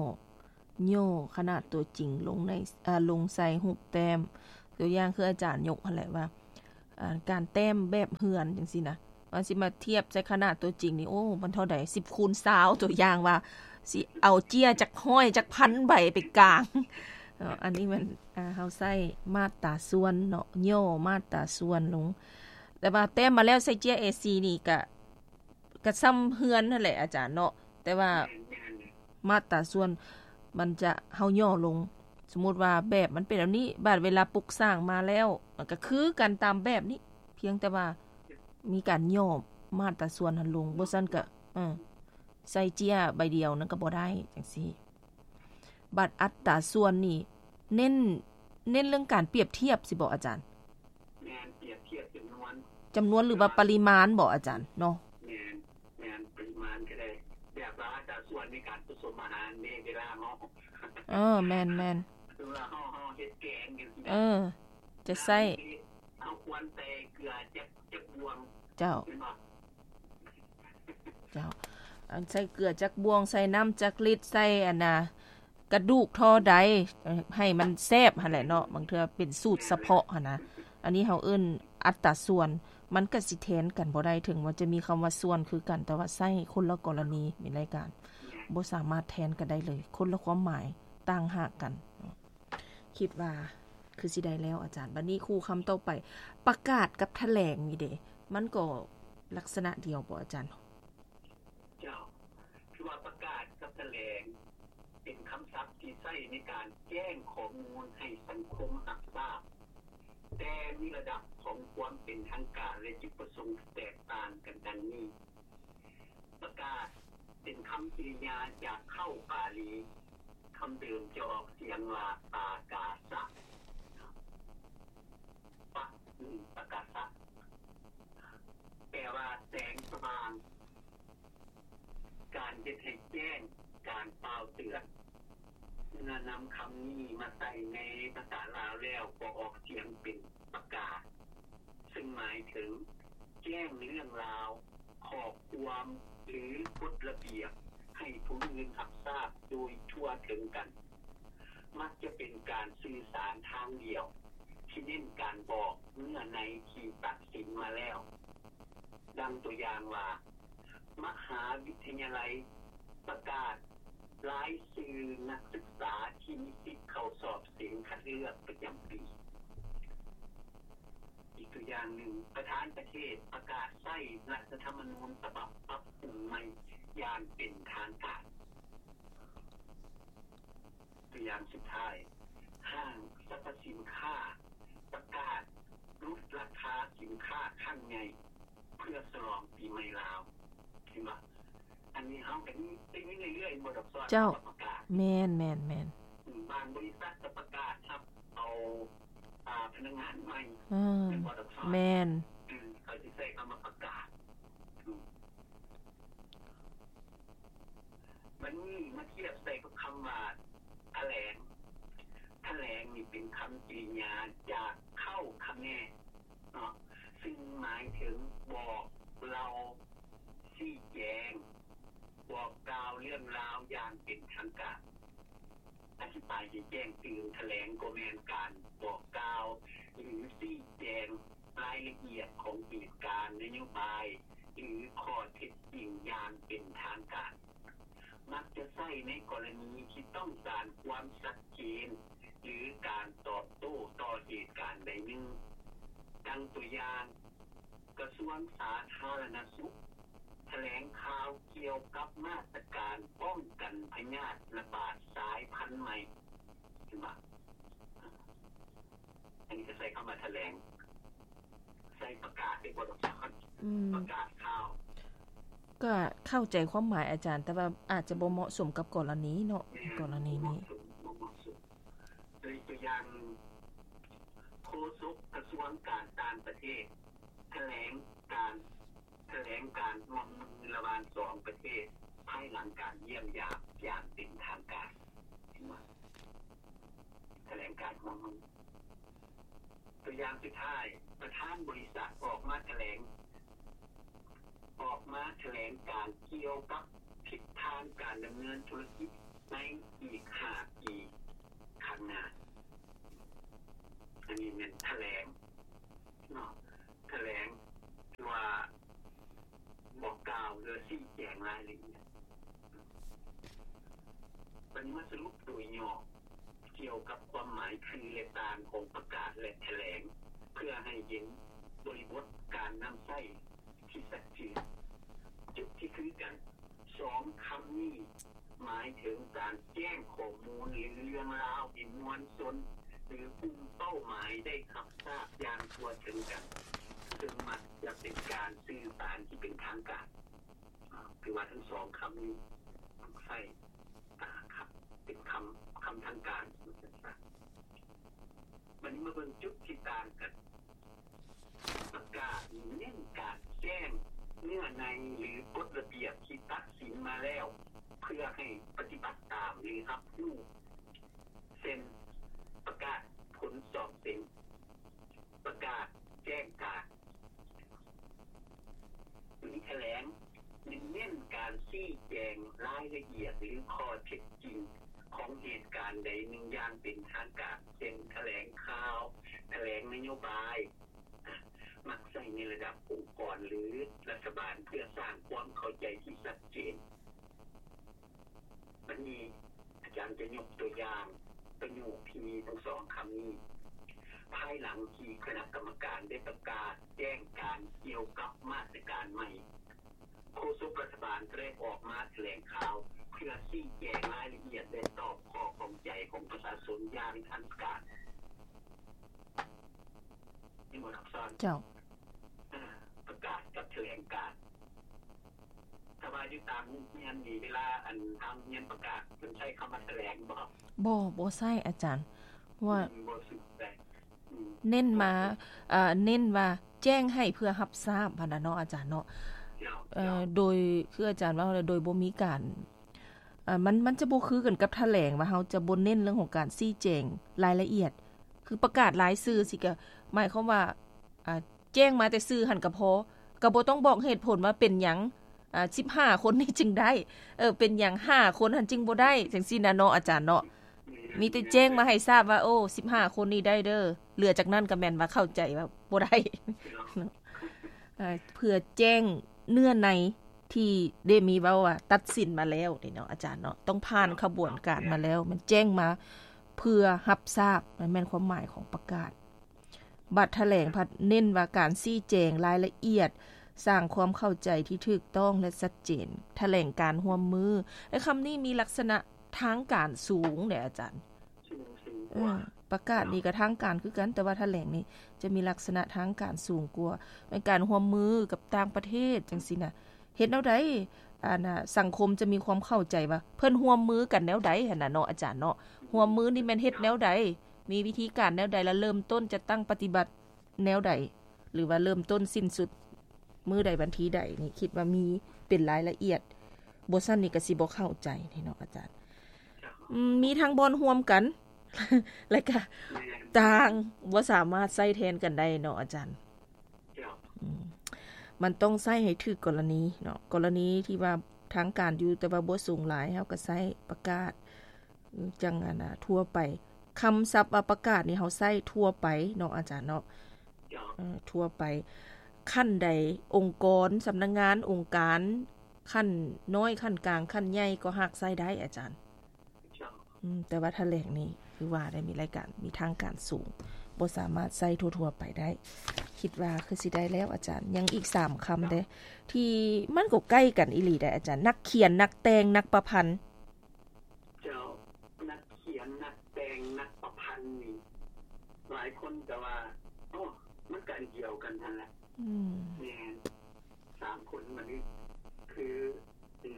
ຫຍໍ້ຂະໜາດຕົວຈິງລົງໃນ ເອີ ລົງໃສ່ຮູບແຕ້ມ. ຕົວຢ່າງຄືອາຈານຍົກຫັ້ນແຫຼະວ່າ ອ່າ ການແຕ້ມແບບເຮືອນຈັ່ງຊີ້ນະ, ວ່າຊິມາທຽບໃສ່ຂະໜາດຕົວຈິງນີ້ ໂອ້ ມັນເທົ່າໃດ ສິບຄູນຊາວ ຕົວຢ່າງວ່າຊິເອົາເຈ້ຍຈັກຮ້ອຍຈັກພັນໃບໄປກາງເນາະ. ອັນນີ້ແມ່ນ ອ່າ ເຮົາໃຊ້ມາດຕາສ່ວນເນາະ ຫຍໍ້ມາດຕາສ່ວນລົງ ແຕ່ວ່າແຕ້ມມາແລ້ວໃສ່ເຈ້ຍເອສີ່ນີ້ກະ ກະສ່ຳເຮືອນຫັ້ນແຫຼະອາຈານເນາະ ແຕ່ວ່າມາດຕາສ່ວນມັນຈະ ເຮົາຫຍໍ້ລົງ ສົມມຸດວ່າແບບມັນເປັນແບບນີ້ ບາດເວລາປຸກສ້າງມາແລ້ວ ມັນກະຄືກັນຕາມແບບນີ້ ພຽງແຕ່ວ່າມີການຫຍໍ້ມາດຕາສ່ວນຫັ້ນລົງ ບໍ່ຊັ້ນກະ ເອີ ໃສ່ເຈ້ຍໃບດຽວນັ້ນກະບໍ່ໄດ້ ຈັ່ງຊີ້. ບາດອັດຕາສ່ວນນີ້ ເນັ້ນ ເນັ້ນເລື່ອງການປຽບທຽບຊິບໍອາຈານ? ແມ່ນ ປຽບທຽບຈຳນວນ ຈຳນວນ ຫຼືວ່າປະລິມານບໍອາຈານເນາະ? ແມ່ນ ແມ່ນ ປະລິມານກະໄດ້ ແບບວ່າອັດຕາສ່ວນໃນການປະສົມອາຫານເດ້ ເວລາເຮົາ ເອີ ແມ່ນໆ ຄືວ່າເຮົາ ເຮົາເຮັດແກງຈັ່ງຊີ້ນະ ເອີ ຈະໃສ່ ເຮົາຄວນໃສ່ເກືອຈັກ ຈັກບ່ວງ ເຈົ້າ ເຈົ້າ ອັນໃສ່ເກືອຈັກບ່ວງ ໃສ່ນ້ຳຈັກລິດ ໃສ່ອັນນ່າ ກະດູກທໍ່ໃດ ໃຫ້ມັນແຊບຫັ້ນແຫຼະເນາະ ບາງເທື່ອເປັນສູດສະເພາະຫັ້ນນະ. ອັນນີ້ເຮົາເອີ້ນອັດຕາສ່ວນ ມັນກະຊິແທນກັນບໍ່ໄດ້ ເຖິງວ່າຈະມີຄຳວ່າສ່ວນຄືກັນ ແຕ່ວ່າໃຊ້ຄົນລະກໍລະນີ ມີລາຍການ ບໍ່ສາມາດແທນກັນໄດ້ເລີຍ ຄົນລະຄວາມໝາຍ ຕ່າງຫາກກັນ. ຄິດວ່າຄືຊິໄດ້ແລ້ວອາຈານ. ບາດນີ້ຄູ່ຄຳຕໍ່ໄປ ປະກາດກັບຖະແຫຼງນີ້ເດ ມັນກໍລັກສະນະດຽວບໍອາຈານ? ເຈົ້າ ຄືວ່າປະກາດກັບຖະແຫຼງ ເປັນຄຳສັບທີ່ໃຊ້ໃນການແຈ້ງຂໍ້ມູນໃຫ້ສັງຄົມຮັບຊາບ, ແຕ່ມີລະດັບຂອງຄວາມເປັນທາງການ ແລະ ຈຸດປະສົງທີ່ແຕກຕ່າງກັນດັ່ງນີ້. ປະກາດ ເປັນຄຳກິລິຍາຈາກເຄົ້າປາລີ, ຄຳເດີມຈະອອກສຽງວ່າ ປາກາສະ ປະ ປາກາສະ ແປວ່າແສງສະຫວ່າງ, ການເຮັດໃຫ້ແຈ້ງ, ການກ່າວເຕືອນ. ເມື່ອນຳຄຳນີ້ມາໃສ່ໃນພາສາລາວແລ້ວ ກໍອອກສຽງເປັນ ປະກາດ, ເຊິ່ງໝາຍເຖິງແຈ້ງເລື່ອງລາວ, ຂໍ້ຄວາມ ຫຼື ກົດລະບຽບໃຫ້ຜູ້ອື່ນຮັບຊາບໂດຍທົ່ວເຖິງກັນ. ມັກຈະເປັນການສື່ສານທາງດຽວ ທີ່ເນັ້ນການບອກເນື້ອໃນທີ່ຕັດສິນມາແລ້ວ. ດັ່ງຕົວຢ່າງວ່າ ມະຫາວິທະຍາໄລປະກາດລາຍຊື່ນັກສຶກສາທີ່ມີສິດເຂົ້າສອບເສັງຄັດເລືອກປະຈຳປີ. ອີກຕົວຢ່າງໜຶ່ງ, ປະທານປະເທດປະກາດໃຊ້ລັດຖະທຳມະນູນສະບັບປັບປຸງໃໝ່ຢ່າງເປັນທາງການ. ຕົວຢ່າງສຸດທ້າຍ, ຫ້າງສັບພະສິນຄ້າປະກາດຫຼຸດລາຄາສິນຄ້າຄັ້ງໃຫຍ່ເພື່ອສະຫຼອງປີໃໝ່ລາວ. ເຫັນບໍ່? ອັນນີ້ເຮົາກໍໄດ້ຍິນເລື້ອຍໆ ບໍ່ດອກຊອນ ເຈົ້າ ປະກາດ. ແມ່ນໆໆ. ບາງບໍລິສັດກໍປະກາດຮັບເອົາ ອ່າ ພະນັກງານໃໝ່. ອືມ ແມ່ນບໍ່ດອກຊອນ? ແມ່ນ. ອືມ ເຂົາຊິໃຊ້ຄຳວ່າປະກາດ. ອືມ ບັດນີ້ມາທຽບໃສ່ກັບຄຳວ່າ ຖະແຫຼງ. ຖະແຫຼງນີ້ເປັນຄຳກິລິຍາຈາກເຄົ້າຄະແມເນາະ ຊຶ່ງໝາຍເຖິງບອກເລົ່າ, ຊີ້ແຈງ, ບອກກ່າວເລື່ອງລາວຢ່າງເປັນທາງການ. ອະທິບາຍໃຫ້ແຈ້ງຕື່ມ, ຖະແຫຼງກໍແມ່ນການບອກກ່າວ ຫຼື ຊີ້ແຈງລາຍລະອຽດຂອງເຫດການ, ນະໂຍບາຍ ຫຼື ຂໍ້ເທັດຈິງຢ່າງເປັນທາງການ. ມັກຈະໃຊ້ໃນກໍລະນີທີ່ຕ້ອງການຄວາມຊັດເຈນ ຫຼື ການຕອບໂຕ້ຕໍ່ເຫດການໃດໜຶ່ງ. ດັ່ງຕົວຢ່າງ, ກະຊວງສາທາລະນະສຸກຖະແຫຼງຂ່າວກ່ຽວກັບມາດຕະການປ້ອງກັນພະຍາດລະບາດສາຍພັນໃໝ່. ເຫັນບໍ່? ອັນນີ້ກໍໃຊ້ຄຳວ່າຖະແຫຼງ. ໃສ່ປະກາດເດ້ບໍ່ດອກ ອືມ ປະກາດຂ່າວ. ກໍເຂົ້າໃຈຄວາມໝາຍອາຈານ, ແຕ່ວ່າອາດຈະບໍ່ເໝາະສົມກັບກໍລະນີເນາະ, ແມ່ນ ກໍລະນີນີ້ ບໍ່ເໝາະສົມ, ບໍ່ເໝາະສົມ. ໂດຍຕົວຢ່າງ, ໂຄສົກກະຊວງການຕ່າງປະເທດຖະແຫຼງການ, ຖະແຫຼງການຮ່ວມມືລະຫວ່າງສອງປະເທດ ພາຍຫຼັງການຢ້ຽມຢາມຢ່າງເປັນທາງການ. ເຫັນບໍ່? ຖະແຫຼງການຮ່ວມມື. ຕົວຢ່າງສຸດທ້າຍ, ປະທານບໍລິສັດອອກມາຖະແຫຼງ, ອອກມາຖະແຫຼງການກ່ຽວກັບທິດທາງການດຳເນີນທຸລະກິດໃນອີກຫ້າປີຂ້າງໜ້າ. ອັນນີ້ແມ່ນຖະແຫຼງເນາະ, ຖະແຫຼງ ຫຼືວ່າ ລາຍລະອຽດ. ບັດນີ້ມາສະຫຼຸບໂດຍຫຍໍ້ກ່ຽວກັບຄວາມໝາຍ, ຊື່ ແລະ ຕ່າງຂອງປະກາດ ແລະ ຖະແຫຼງ ເພື່ອໃຫ້ເຫັນບໍລິບົດການນຳໃຊ້ທີ່ຊັດເຈນ. ຈຸດທີ່ຄືກັນ, ສອງຄຳນີ້ໝາຍເຖິງການແຈ້ງຂໍ້ມູນ ຫຼື ເລື່ອງລາວໃຫ້ມວນຊົນ ຫຼື ກຸ່ມເປົ້າໝາຍໄດ້ຮັບຊາບຢ່າງທົ່ວເຖິງກັນ, ເຊິ່ງມັກຈະເປັນການສື່ສານທີ່ເປັນທາງການ. ອາ ຄືວ່າທັງສອງຄຳນີ້ມັກໃຊ້ ອາ ຄຳ ເປັນຄຳ ຄຳທາງການ. ບັດນີ້ມາເບິ່ງຈຸດທີ່ຕ່າງກັນ. ປະກາດນີ້ເນັ້ນການແຈ້ງເນື້ອໃນ ຫຼື ກົດລະບຽບທີ່ຕັດສິນມາແລ້ວ ເພື່ອໃຫ້ປະຕິບັດຕາມ ຫຼື ຮັບຮູ້, ເຊັ່ນ ປະກາດຜົນສອບເສັງ, ປະກາດແຈ້ງການ. ມີຖະແຫຼງ ເນັ້ນການຊີ້ແຈງລາຍລະອຽດ ຫຼື ຂໍ້ເທັດຈິງຂອງເຫດການໃດໜຶ່ງຢ່າງເປັນທາງການ, ເຊັ່ນ ຖະແຫຼງຂ່າວ, ຖະແຫຼງນະໂຍບາຍ, ມັກໃຊ້ໃນລະດັບອົງກອນ ຫຼື ລັດຖະບານ ເພື່ອສ້າງຄວາມເຂົ້າໃຈທີ່ຊັດເຈນ. ບັດນີ້ອາຈານຈະຍົກຕົວຢ່າງປະໂຫຍກທີ່ມີທັງສອງຄຳນີ້. ພາຍຫຼັງທີ່ຄະນະກຳມະການໄດ້ປະກາດແຈ້ງການກ່ຽວກັບມາດຕະການໃໝ່, ໂຄສົກລັດຖະບານກໍໄດ້ອອກມາຖະແຫຼງຂ່າວ ເພື່ອຊີ້ແຈງລາຍລະອຽດ ແລະ ຕອບຂໍ້ຂ້ອງໃຈຂອງປະຊາຊົນຢ່າງທັນການ. ເຫັນບໍ່ ທັກສອນ? ເຈົ້າ. ອາ ປະກາດກັບຖະແຫຼງການ. ຖ້າວ່າຢູ່ຕາມໂຮງຮຽນນີ້ ເວລາ ອັນ ທາງໂຮງຮຽນປະກາດ ເພິ່ນໃຊ້ຄຳວ່າຖະແຫຼງບໍ່? ບໍ່ ບໍ່ໃຊ້ອາຈານ. ວ່າ ອືມ ບໍ່ຊື່ແຫຼະ. ອືມ ເນັ້ນມາ ເອີ ເນັ້ນວ່າແຈ້ງໃຫ້ເພື່ອຮັບຊາບຫັ້ນນະເນາະ ອາຈານເນາະ. ເຈົ້າ ເອີ ເຈົ້າ. ໂດຍ ຄືອາຈານເວົ້າແຫຼະ ໂດຍບໍ່ມີການ ເອີ ມັນ ມັນຈະບໍ່ຄືກັນກັບຖະແຫຼງ ວ່າເຮົາຈະບໍ່ເນັ້ນເລື່ອງຂອງການຊີ້ແຈງລາຍລະອຽດ. ຄືປະກາດລາຍຊື່ຊີ້ ກະໝາຍຄວາມວ່າ ອາ ແຈ້ງມາແຕ່ຊື່ຫັ້ນກະພໍ, ກະບໍ່ຕ້ອງບອກເຫດຜົນວ່າເປັນຫຍັງ ອາ ສິບຫ້າຄົນນີ້ຈຶ່ງໄດ້ ເອີ ເປັນຫຍັງຫ້າຄົນຫັ້ນຈຶ່ງບໍ່ໄດ້ ຈັ່ງຊີ້ນະເນາະ ອາຈານເນາະ. ມີແຕ່ແຈ້ງມາໃຫ້ຊາບວ່າ ໂອ້ ສິບຫ້າຄົນນີ້ໄດ້ເດີ, ເຫຼືອຈາກນັ້ນກະແມ່ນວ່າເຂົ້າໃຈວ່າບໍ່ໄດ້ເນາະ. ເອີ ເພື່ອແຈ້ງເນື້ອໃນທີ່ໄດ້ມີເວົ້າວ່າຕັດສິນມາແລ້ວນີ້ເນາະ ອາຈານເນາະ, ຕ້ອງຜ່ານຂະບວນການມາແລ້ວ, ແມ່ນແຈ້ງມາເພື່ອຮັບຊາບ, ນັ້ນແມ່ນຄວາມໝາຍຂອງປະກາດ. ບັດຖະແຫຼງພັດເນັ້ນວ່າການຊີ້ແຈງລາຍລະອຽດ, ສ້າງຄວາມເຂົ້າໃຈທີ່ຖືກຕ້ອງ ແລະ ຊັດເຈນ, ຖະແຫຼງການຮ່ວມມື. ແລະ ຄຳນີ້ມີລັກສະນະທາງການສູງເດ້ອາຈານ. ເອີ ປະກາດນີ້ກະທາງການຄືກັນ, ແຕ່ວ່າຖະແຫຼງນີ້ຈະມີລັກສະນະທາງການສູງກວ່າ, ແມ່ນການຮ່ວມມືກັບຕ່າງປະເທດຈັ່ງຊີ້ນະ. ເຮັດແນວໃດ ອັນນະ ສັງຄົມຈະມີຄວາມເຂົ້າໃຈວ່າເພິ່ນຮ່ວມມືກັນແນວໃດຫັ້ນນະເນາະ ອາຈານເນາະ. ຮ່ວມມືນີ້ແມ່ນເຮັດແນວໃດ, ມີວິທີການແນວໃດ ແລະ ເລີ່ມຕົ້ນຈັດຕັ້ງປະຕິບັດແນວໃດ ຫຼືວ່າເລີ່ມຕົ້ນສິ້ນສຸດມື້ໃດ ວັນທີໃດນີ້ ຄິດວ່າມີເປັນລາຍລະອຽດ, ບໍ່ຊັ້ນນີ້ກະຊິບໍ່ເຂົ້າໃຈນີ້ເນາະ ອາຈານ. ອືມ ມີທັງບ່ອນຮ່ວມກັນ ແລະກະຕ່າງ, ບໍ່ສາມາດໃຊ້ແທນກັນໄດ້ເນາະ ອາຈານ. ເຈົ້າ. ອືມ ມັນຕ້ອງໃຊ້ໃຫ້ຖືກກໍລະນີເນາະ, ກໍລະນີທີ່ວ່າທາງການຢູ່ ແຕ່ວ່າບໍ່ສູງຫຼາຍ ເຮົາກໍໃຊ້ປະກາດ ຈັ່ງອັນນະ ທົ່ວໄປ. ຄຳສັບວ່າປະກາດນີ້ເຮົາໃຊ້ທົ່ວໄປເນາະ ອາຈານເນາະ. ເຈົ້າ. ເອີ ທົ່ວໄປ. ຂັ້ນໃດ ອົງກອນ, ສຳນັກງານ, ອົງການ, ຂັ້ນນ້ອຍ, ຂັ້ນກາງ, ຂັ້ນໃຫຍ່ ກໍຫາກໃຊ້ໄດ້ ອາຈານ. ເຈົ້າ. ອືມ ແຕ່ວ່າຖະແຫຼງນີ້ ຄືວ່າໄດ້ມີລາຍການ ມີທາງການສູງ, ບໍ່ສາມາດໃຊ້ທົ່ວໆໄປໄດ້. ຄິດວ່າຄືຊິໄດ້ແລ້ວອາຈານ, ຍັງອີກສາມຄຳເດ້ ທີ່ມັນກໍໃກ້ກັນອີ່ຫຼີໄດ໋ອາຈານ, ນັກຂຽນ, ນັກແຕ່ງ, ນັກປະພັນ. ເຈົ້າ, ນັກຂຽນ, ນັກແຕ່ງ, ນັກປະພັນນີ້ ຫຼາຍຄົນກໍວ່າ ໂອ້ ມັນກໍອັນດຽວກັນຫັ້ນແຫຼະ. ອືມ ແມ່ນ ສາມຄົນມັນຄື ເປັນ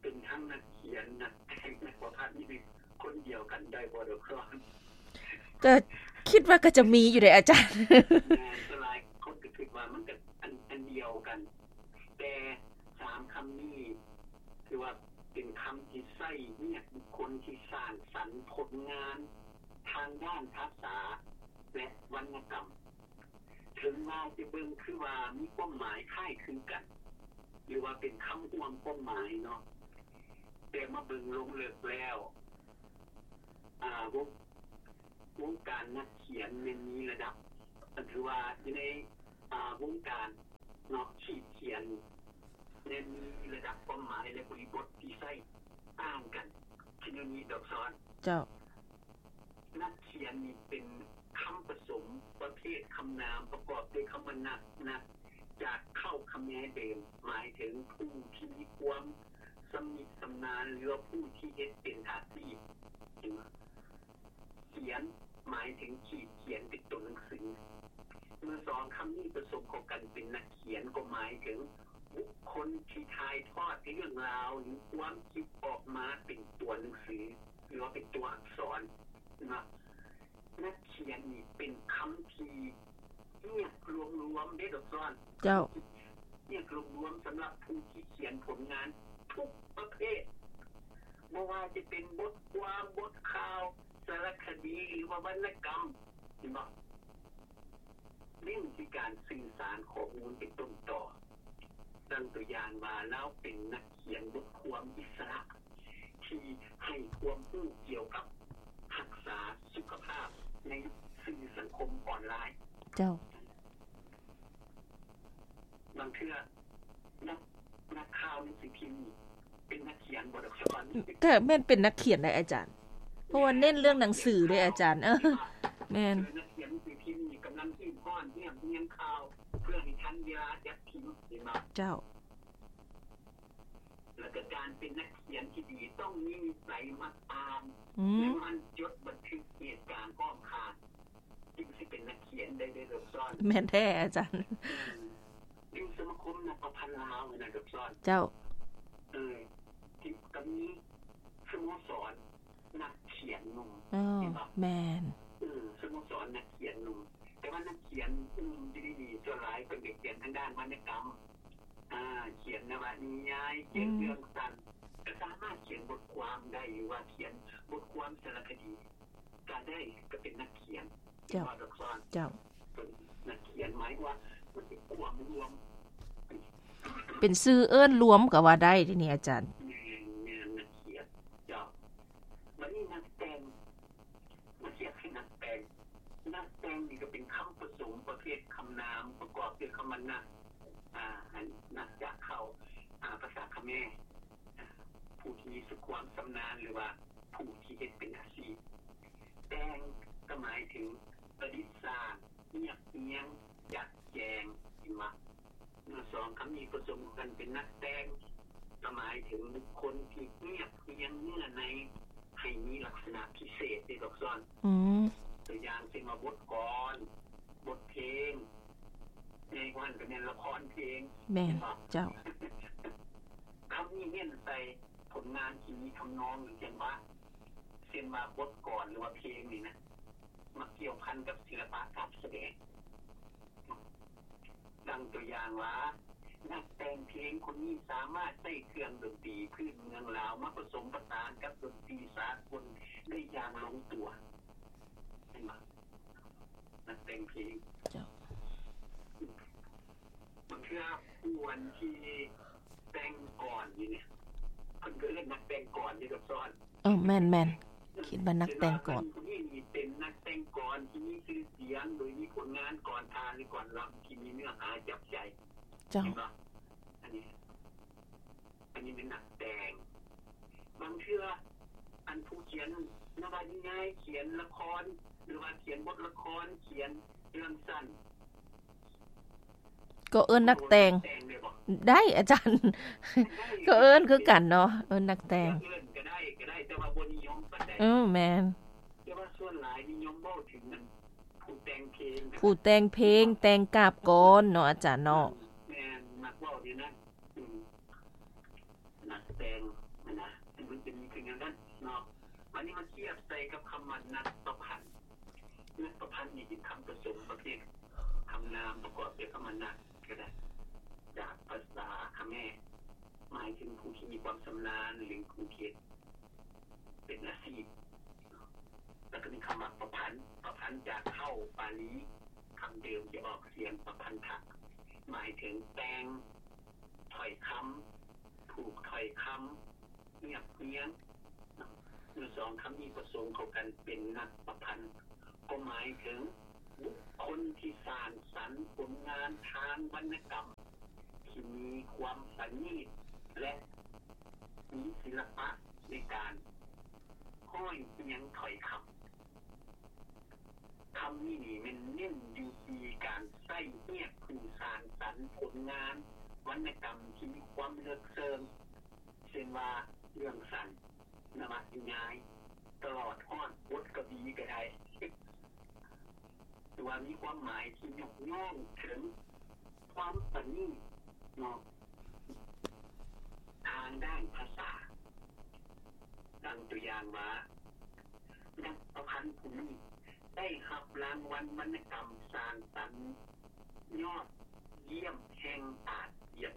ເປັນທັງນັກຂຽນ, ນັກແຕ່ງ, ນັກປະພັນ ນີ້ເປັນຄົນດຽວກັນໄດ້ບໍ່ດອກ? ກໍຄິດວ່າກໍຈະມີຢູ່ເດ້ອາຈານ. ແມ່ນ, ສ່ວນຫຼາຍຄົນກໍຄິດວ່າມັນກໍອັນ ອັນດຽວກັນ, ແຕ່ສາມຄຳນີ້ຖືວ່າເປັນຄຳທີ່ໃຊ້ຮຽກບຸກຄົນທີ່ສ້າງສັນຜົນງານທາງດ້ານພາສາ ແລະ ວັນນະກຳ. ເຖິງວ່າຈະເບິ່ງຄືວ່າມີຄວາມໝາຍຄ້າຍຄືກັນ ຫຼືວ່າເປັນຄຳຮ່ວມຄວາມໝາຍເນາະ, ແຕ່ມາເບິ່ງລົງເລິກແລ້ວ ອ່າ ວົງ ວົງການນັກຂຽນແມ່ນມີລະດັບ ກໍຖືວ່າຢູ່ໃນ ອ່າ ວົງການເນາະ ຂີດຂຽນ ແລະ ມີລະດັບຄວາມໝາຍ ແລະ ບໍລິບົດທີ່ໃຊ້ຕ່າງກັນ. ເຊັ່ນແນວນີ້ດອກຊອນ. ເຈົ້າ. ນັກຂຽນນີ້ເປັນຄຳປະສົມປະເພດຄຳນາມປະກອບດ້ວຍຄຳວ່ານັກ, ນັກຈາກເຄົ້າຂະແມເດີມ ໝາຍເຖິງຜູ້ທີ່ມີຄວາມຊຳນິຊຳນານ ຫຼືວ່າຜູ້ທີ່ເຮັດເປັນອາຊີບ. ເຫັນບໍ່? ຂຽນ ໝາຍເຖິງຂີດຂຽນເປັນຕົວໜັງສື. ເມື່ອສອງຄຳນີ້ປະສົມເຂົ້າກັນເປັນນັກຂຽນ ກໍໝາຍເຖິງບຸກຄົນທີ່ຖ່າຍທອດເລື່ອງລາວ ຫຼື ຄວາມຄິດອອກມາເປັນຕົວໜັງສື ຫຼືວ່າເປັນຕົວອັກສອນເນາະ. ນັກຂຽນນີ້ເປັນຄຳທີ່ຮຽກລວມໆເດ້ດອກຊອນ. ເຈົ້າ. ຮຽກລວມໆສຳລັບຜູ້ທີ່ຂຽນຜົນງານທຸກປະເພດ ບໍ່ວ່າຈະເປັນບົດຄວາມ, ບົດຂ່າວ, ສາລະຄະດີ ຫຼືວ່າວັນນະກຳ, ເຫັນບໍ່? ເນັ້ນທີ່ການສື່ສານຂໍ້ມູນເປັນຕົ້ນຕໍ. ດັ່ງຕົວຢ່າງວ່າ ລາວເປັນນັກຂຽນບົດຄວາມອິດສະຫຼະ ທີ່ໃຫ້ຄວາມຮູ້ກ່ຽວກັບຮັກສາສຸຂະພາບໃນສື່ສັງຄົມອອນລາຍ. ເຈົ້າ. ບາງເທື່ອ ນັກ, ນັກຂ່າວໜັງສືພິມນີ້ເປັນນັກຂຽນບໍ່ດອກຊອນ? ກໍແມ່ນເປັນນັກຂຽນໄດອາຈານ ເພາະວ່າເນັ້ນເລື່ອງໜັງສືເດ້ອາຈານ. ເອີ ແມ່ນ. ນັກຂຽນໜັງສືພິມນີ້ກຳລັງຮີບຮ້ອນຮຽບຮຽງຂ່າວ ເພື່ອໃຫ້ທັນເວລາຈັດພິມ, ເຫັນບໍ່? ເຈົ້າ. ແລ້ວກໍການເປັນນັກຂຽນທີ່ດີ ຕ້ອງມີນິໄສມັກອ່ານ ອືມ ແລະ ໝັ່ນຈົດບັນທຶກເຫດການອ້ອມຂ້າງ ຈຶ່ງຊິເປັນນັກຂຽນໄດ້ເດີດອກຊອນ. ແມ່ນແທ້ອາຈານ. ອືມ ຢູ່ສະມາຄົມນັກປະພັນລາວນະດອກຊອນ. ເຈົ້າ. ເອີ ທີ່ກໍມີສະໂມສອນນັກຂຽນໜຸ່ມ. ອໍ ເຫັນບໍ່? ແມ່ນ. ເອີ ສະໂມສອນນັກຂຽນໜຸ່ມ ແຕ່ວ່ານັກຂຽນໜຸ່ມຢູ່ໃນນີ້ ສ່ວນຫຼາຍເພິ່ນກໍຂຽນທາງດ້ານວັນນະກຳ ອ່າ ຂຽນນະວະນິຍາຍ, ຂຽນ ອືມ ເລື່ອງສັ້ນ, ກໍສາມາດຂຽນບົດຄວາມໄດ້ ຫຼືວ່າຂຽນບົດຄວາມສາລະຄະດີກໍໄດ້, ກໍເປັນນັກຂຽນ. ເຈົ້າ. ເຈົ້າ. ເປັນນັກຂຽນ ໝາຍວ່າມັນເປັນກວມລວມ ເປັນຊື່ເອີ້ນລວມກໍວ່າໄດ້ເດນີ້ອາຈານ. ແມ່ນ, ແມ່ນ, ນັກຂຽນ. ເຈົ້າ. ບັດນີ້ນັກແຕ່ງ ມາທຽບໃຫ້ນັກແຕ່ງ. ນັກແຕ່ງນີ້ກໍເປັນຄຳປະສົມປະເພດຄຳນາມປະກອບດ້ວຍຄຳວ່ານັກ, ອ່າ ອັນນັກຈາກເຄົ້າ ອ່າ ພາສາຂະແມ, ຜູ້ທີ່ມີຄວາມຊຳນານ ຫຼືວ່າຜູ້ທີ່ເຮັດເປັນອາຊີບ. ແຕ່ງກໍໝາຍເຖິງປະດິດສ້າງ, ຮຽບຮຽງ, ຈັດແຈງ, ເຫັນບໍ່? ເມື່ອສອງຄຳນີ້ປະສົມກັນເປັນນັກແຕ່ງ ກໍໝາຍເຖິງບຸກຄົນທີ່ຮຽບຮຽງເນື້ອໃນໃຫ້ມີລັກສະນະພິເສດເດ້ດອກຊອນ. ອືມ ຕົວຢ່າງເຊັ່ນວ່າບົດກອນ, ບົດເພງ, ໃຫຍ່ກວ່ານັ້ນກໍແມ່ນລະຄອນເພງ. ແມ່ນ. ເຈົ້າ. ຄຳນີ້ເນັ້ນໃສ່ຜົນງານທີ່ມີທຳນອງ ຫຼື ຈັງຫວະ, ເຊັ່ນວ່າບົດກອນ ຫຼືວ່າເພງນີ້ນະ ມັກກ່ຽວພັນກັບສິລະປະການສະແດງ. ດັ່ງຕົວຢ່າງວ່າ ນັກແຕ່ງເພງຄົນນີ້ສາມາດໃຊ້ເຄື່ອງດົນຕີພື້ນເມືອງລາວມາປະສົມປະສານກັບດົນຕີສາກົນໄດ້ຢ່າງລົງຕົວ. ເຫັນບໍ່? ນັກແຕ່ງເພງ. ເຈົ້າ. ບາງເທື່ອຜູ້ອັນທີ່ແຕ່ງກອນນີ້ນະ ເພິ່ນກໍເອີ້ນນັກແຕ່ງກອນເດ້ດອກຊອນ. ເອີ ແມ່ນໆ ຄິດວ່ານັກແຕ່ງກອນ. ເປັນວ່າເພິ່ນຜູ້ນີ້ນີ້ເປັນນັກແຕ່ງກອນທີ່ມີຊື່ສຽງ ໂດຍມີຜົນງານກອນທ່າ ຫຼື ກອນລຳທີ່ມີເນື້ອຫາຈັບໃຈ. ເຈົ້າ. ເຫັນບໍ່? ອັນນີ້ ອັນນີ້ແມ່ນນັກແຕ່ງ. ບາງເທື່ອ ອັນຜູ້ຂຽນນະວະນິຍາຍ, ຂຽນລະຄອນ ຫຼືວ່າຂຽນບົດລະຄອນ, ຂຽນເລື່ອງສັ້ນ ກໍເອີ້ນນັກແຕ່ງ. ແຕ່ງໄດ້ບໍ່? ໄດ້ອາຈານ. ໄດ້. ກໍເອີ້ນຄືກັນເນາະ, ເອີ້ນນັກແຕ່ງ. ເອີ້ນກໍໄດ້, ກໍໄດ້, ແຕ່ວ່າບໍ່ນິຍົມປານໃດ. ເອີ ແມ່ນ. ແຕ່ວ່າສ່ວນຫຼາຍນິຍົມເວົ້າເຖິງອັນຜູ້ແຕ່ງເພງນະ, ຜູ້ແຕ່ງເພງ, ແຕ່ງກາບກອນເນາະອາຈານເນາະ. ແມ່ນ, ມັກເວົ້າແນວນັ້ນ. ອືມ. ນັກແຕ່ງນະ, ມັນເປັນຄືແນວນັ້ນເນາະ. ບາດນີ້ມາທຽບໃສ່ກັບຄຳວ່ານັກປະພັນ. ນັກປະພັນນີ້ເປັນຄຳປະສົມປະເພດຄຳນາມປະກອບດ້ວຍຄຳວ່ານັກກໍໄດ້ ຈາກພາສາຂະແມ, ໝາຍເຖິງຜູ້ທີ່ມີຄວາມຊຳນານ ຫຼື ຜູ້ທີ່ເຮັດເປັນອາຊີບ. ແລ້ວກໍມີຄຳວ່າປະພັນ, ປະພັນຈາກເຄົ້າປາລີ, ຄຳເດີມທີ່ອອກສຽງປະພັນທະ, ໝາຍເຖິງແຕ່ງຖ້ອຍຄຳ, ຜູກຖ້ອຍຄຳ, ຮຽບຮຽງ. ເມື່ອສອງຄຳນີ້ປະສົມເຂົ້າກັນເປັນນັກປະພັນ ກໍໝາຍເຖິງບຸກຄົນທີ່ສ້າງສັນຜົນງານທາງວັນນະກຳ ຂ ທີ່ມີຄວາມປະນີດ ແລະ ມີສິລະປະໃນການຮ້ອຍຮຽງຖ້ອຍຄຳ. ຄຳນີ້ນີ້ແມ່ນເນັ້ນຢູ່ທີ່ການໃຊ້ຮຽກຜູ້ສ້າງສັນຜົນງານວັນນະກຳທີ່ມີຄວາມເລິກເຊິ່ງ ເຊັ່ນວ່າເລື່ອງສັ້ນ ນະວະນິຍາຍ ຕະຫຼອດຮອດບົດກະວີກໍໄດ້ ຫຼືວ່າມີຄວາມໝາຍທີ່ຍົກຍ້ອງເຖິງຄວາມປະນີດເນາະ ທາງດ້ານພາສາ. ດັ່ງຕົວຢ່າງວ່າ ນັກປະພັນຜູ້ນີ້ໄດ້ຮັບລາງວັນວັນນະກຳສ້າງສັນຍອດຢ້ຽມແຫ່ງອາຊຽນ.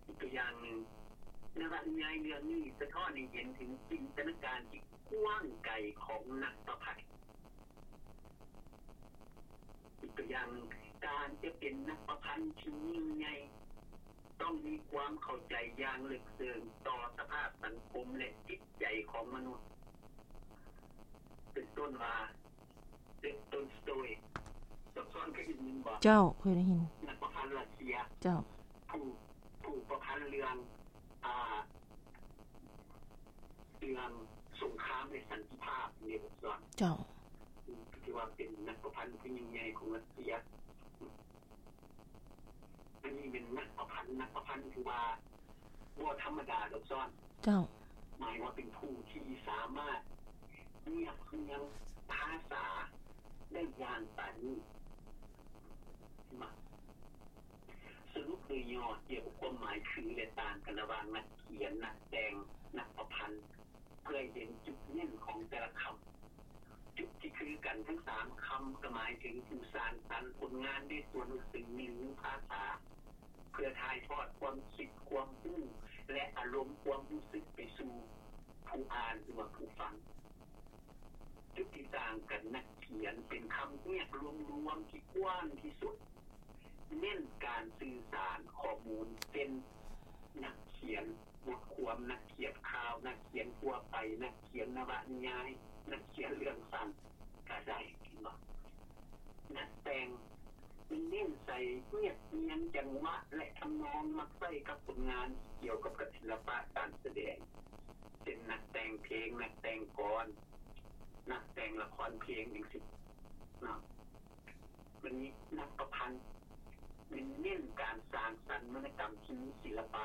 ອີກຕົວຢ່າງໜຶ່ງ, ນະວະນິຍາຍເລື່ອງນີ້ສະທ້ອນໃຫ້ເຫັນເຖິງຈິນຕະນາການທີ່ກວ້າງໄກຂອງນັກປະພັນ. ອີກຕົວຢ່າງໜຶ່ງ, ການຈະເປັນນັກປະພັນທີ່ຍິ່ງໃຫຍ່ ຕ້ອງມີຄວາມເຂົ້າໃຈຢ່າງເລິກເຊິ່ງຕໍ່ສະພາບສັງຄົມ ແລະ ຈິດໃຈຂອງມະນຸດ. ເປັນຕົ້ນວ່າ ເລບໂຕນສະໂຕຍ ເຈົ້າເຄີຍໄດ້ຍິນບໍ່? ເຈົ້າ ເຄີຍໄດ້ຍິນ. ນັກປະພັນຣັດເຊຍ ເຈົ້າ ຜູ້ ຜູ້ປະພັນເລື່ອງ ອ່າ ເລື່ອງສົງຄາມ ແລະ ສັນຕິພາບ ເລບໂຕນ ເຈົ້າ ຖືວ່າເປັນນັກປະພັນຜູ້ຍິ່ງໃຫຍ່ຂອງຣັດເຊຍ. ອັນນີ້ແມ່ນນັກປະພັນ, ນັກປະພັນຖືວ່າບໍ່ທຳມະດາດອກຊ້ອນ. ເຈົ້າ. ໝາຍວ່າເປັນຜູ້ທີ່ສາມາດຮຽບຮຽງພາສາໄດ້ຢ່າງປານີດ. ມາສະຫຼຸບໂດຍຫຍໍ້ກ່ຽວກັບຄວາມໝາຍຄື ແລະ ຕ່າງກັນລະຫວ່າງນັກຂຽນ, ນັກແຕ່ງ, ນັກປະພັນ. ເພື່ອໃຫ້ເຫັນຈຸດເນັ້ນຂອງແຕ່ລະຄຳ. ຈຸດທີ່ຄືກັນທັງສາມຄຳກໍໝາຍເຖິງຜູ້ສ້າງສັນຜົນງານໃນຕົວໜັງສື ຫຼື ພາສາ ເພື່ອຖ່າຍທອດຄວາມຄິດ, ຄວາມຮູ້ ແລະ ອາລົມຄວາມຮູ້ສຶກໄປສູ່ຜູ້ອ່ານ ຫຼືວ່າຜູ້ຟັງ. ຈຸດທີ່ຕ່າງກັນ, ນັກຂຽນເປັນຄຳຮຽກລວມໆທີ່ກວ້າງທີ່ສຸດ, ເນັ້ນການສື່ສານຂໍ້ມູນ, ເຊັ່ນ ນັກຂຽນ ບົດຄວາມ, ນັກຂຽນຂ່າວ, ນັກຂຽນທົ່ວໄປ, ນັກຂຽນນະວະນິຍາຍ, ນັກຂຽນເລື່ອງສັ້ນກະໄດ້ ເຫັນບໍ່? ນັກແຕ່ງ ເນັ້ນໃສ່ຮຽກຮຽງຈັງຫວະ ແລະ ທຳນອງ, ມັກໃຊ້ກັບຜົນງານທີ່ກ່ຽວກັບ ກັບສິລະປະການສະແດງ ເຊັ່ນ ນັກແຕ່ງເພງ, ນັກແຕ່ງກອນ, ນັກແຕ່ງລະຄອນເພງ ຈັ່ງຊີ້ເນາະ. ບັດນີ້ນັກປະພັນ ເນັ້ນການສ້າງສັນວັນນະກຳທີ່ມີສິລະປະ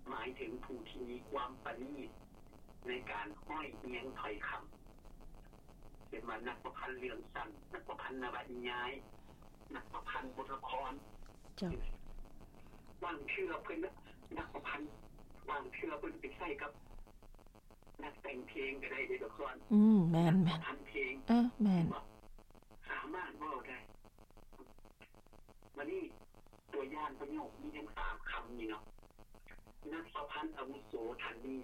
ໝາຍເຖິງຜູ້ທີ່ມີຄວາມປະນີດໃນການຮ້ອຍຮຽງຖ້ອຍຄຳ ເຊັ່ນວ່ານັກປະພັນເລື່ອງສັ້ນ, ນັກປະພັນນະວະນິຍາຍ, ນັກປະພັນບົດລະຄອນ. ເຈົ້າ. ບາງເທື່ອເພິ່ນ ນັກປະພັນ ບາງເທື່ອເພິ່ນໄປໃຊ້ກັບ ນັກແຕ່ງເພງກໍໄດ້ເດ້ດອກຊ້ອນ. ອືມ ແມ່ນໆ ນັກປະພັນເພງ. ເອີ ແມ່ນ. ສາມາດເວົ້າໄດ້. ມານີ້ ຕົວຢ່າງປະໂຫຍກມີທັງສາມຄຳນີ້ເນາະ. ນັກປະພັນອາວຸໂສທ່ານນີ້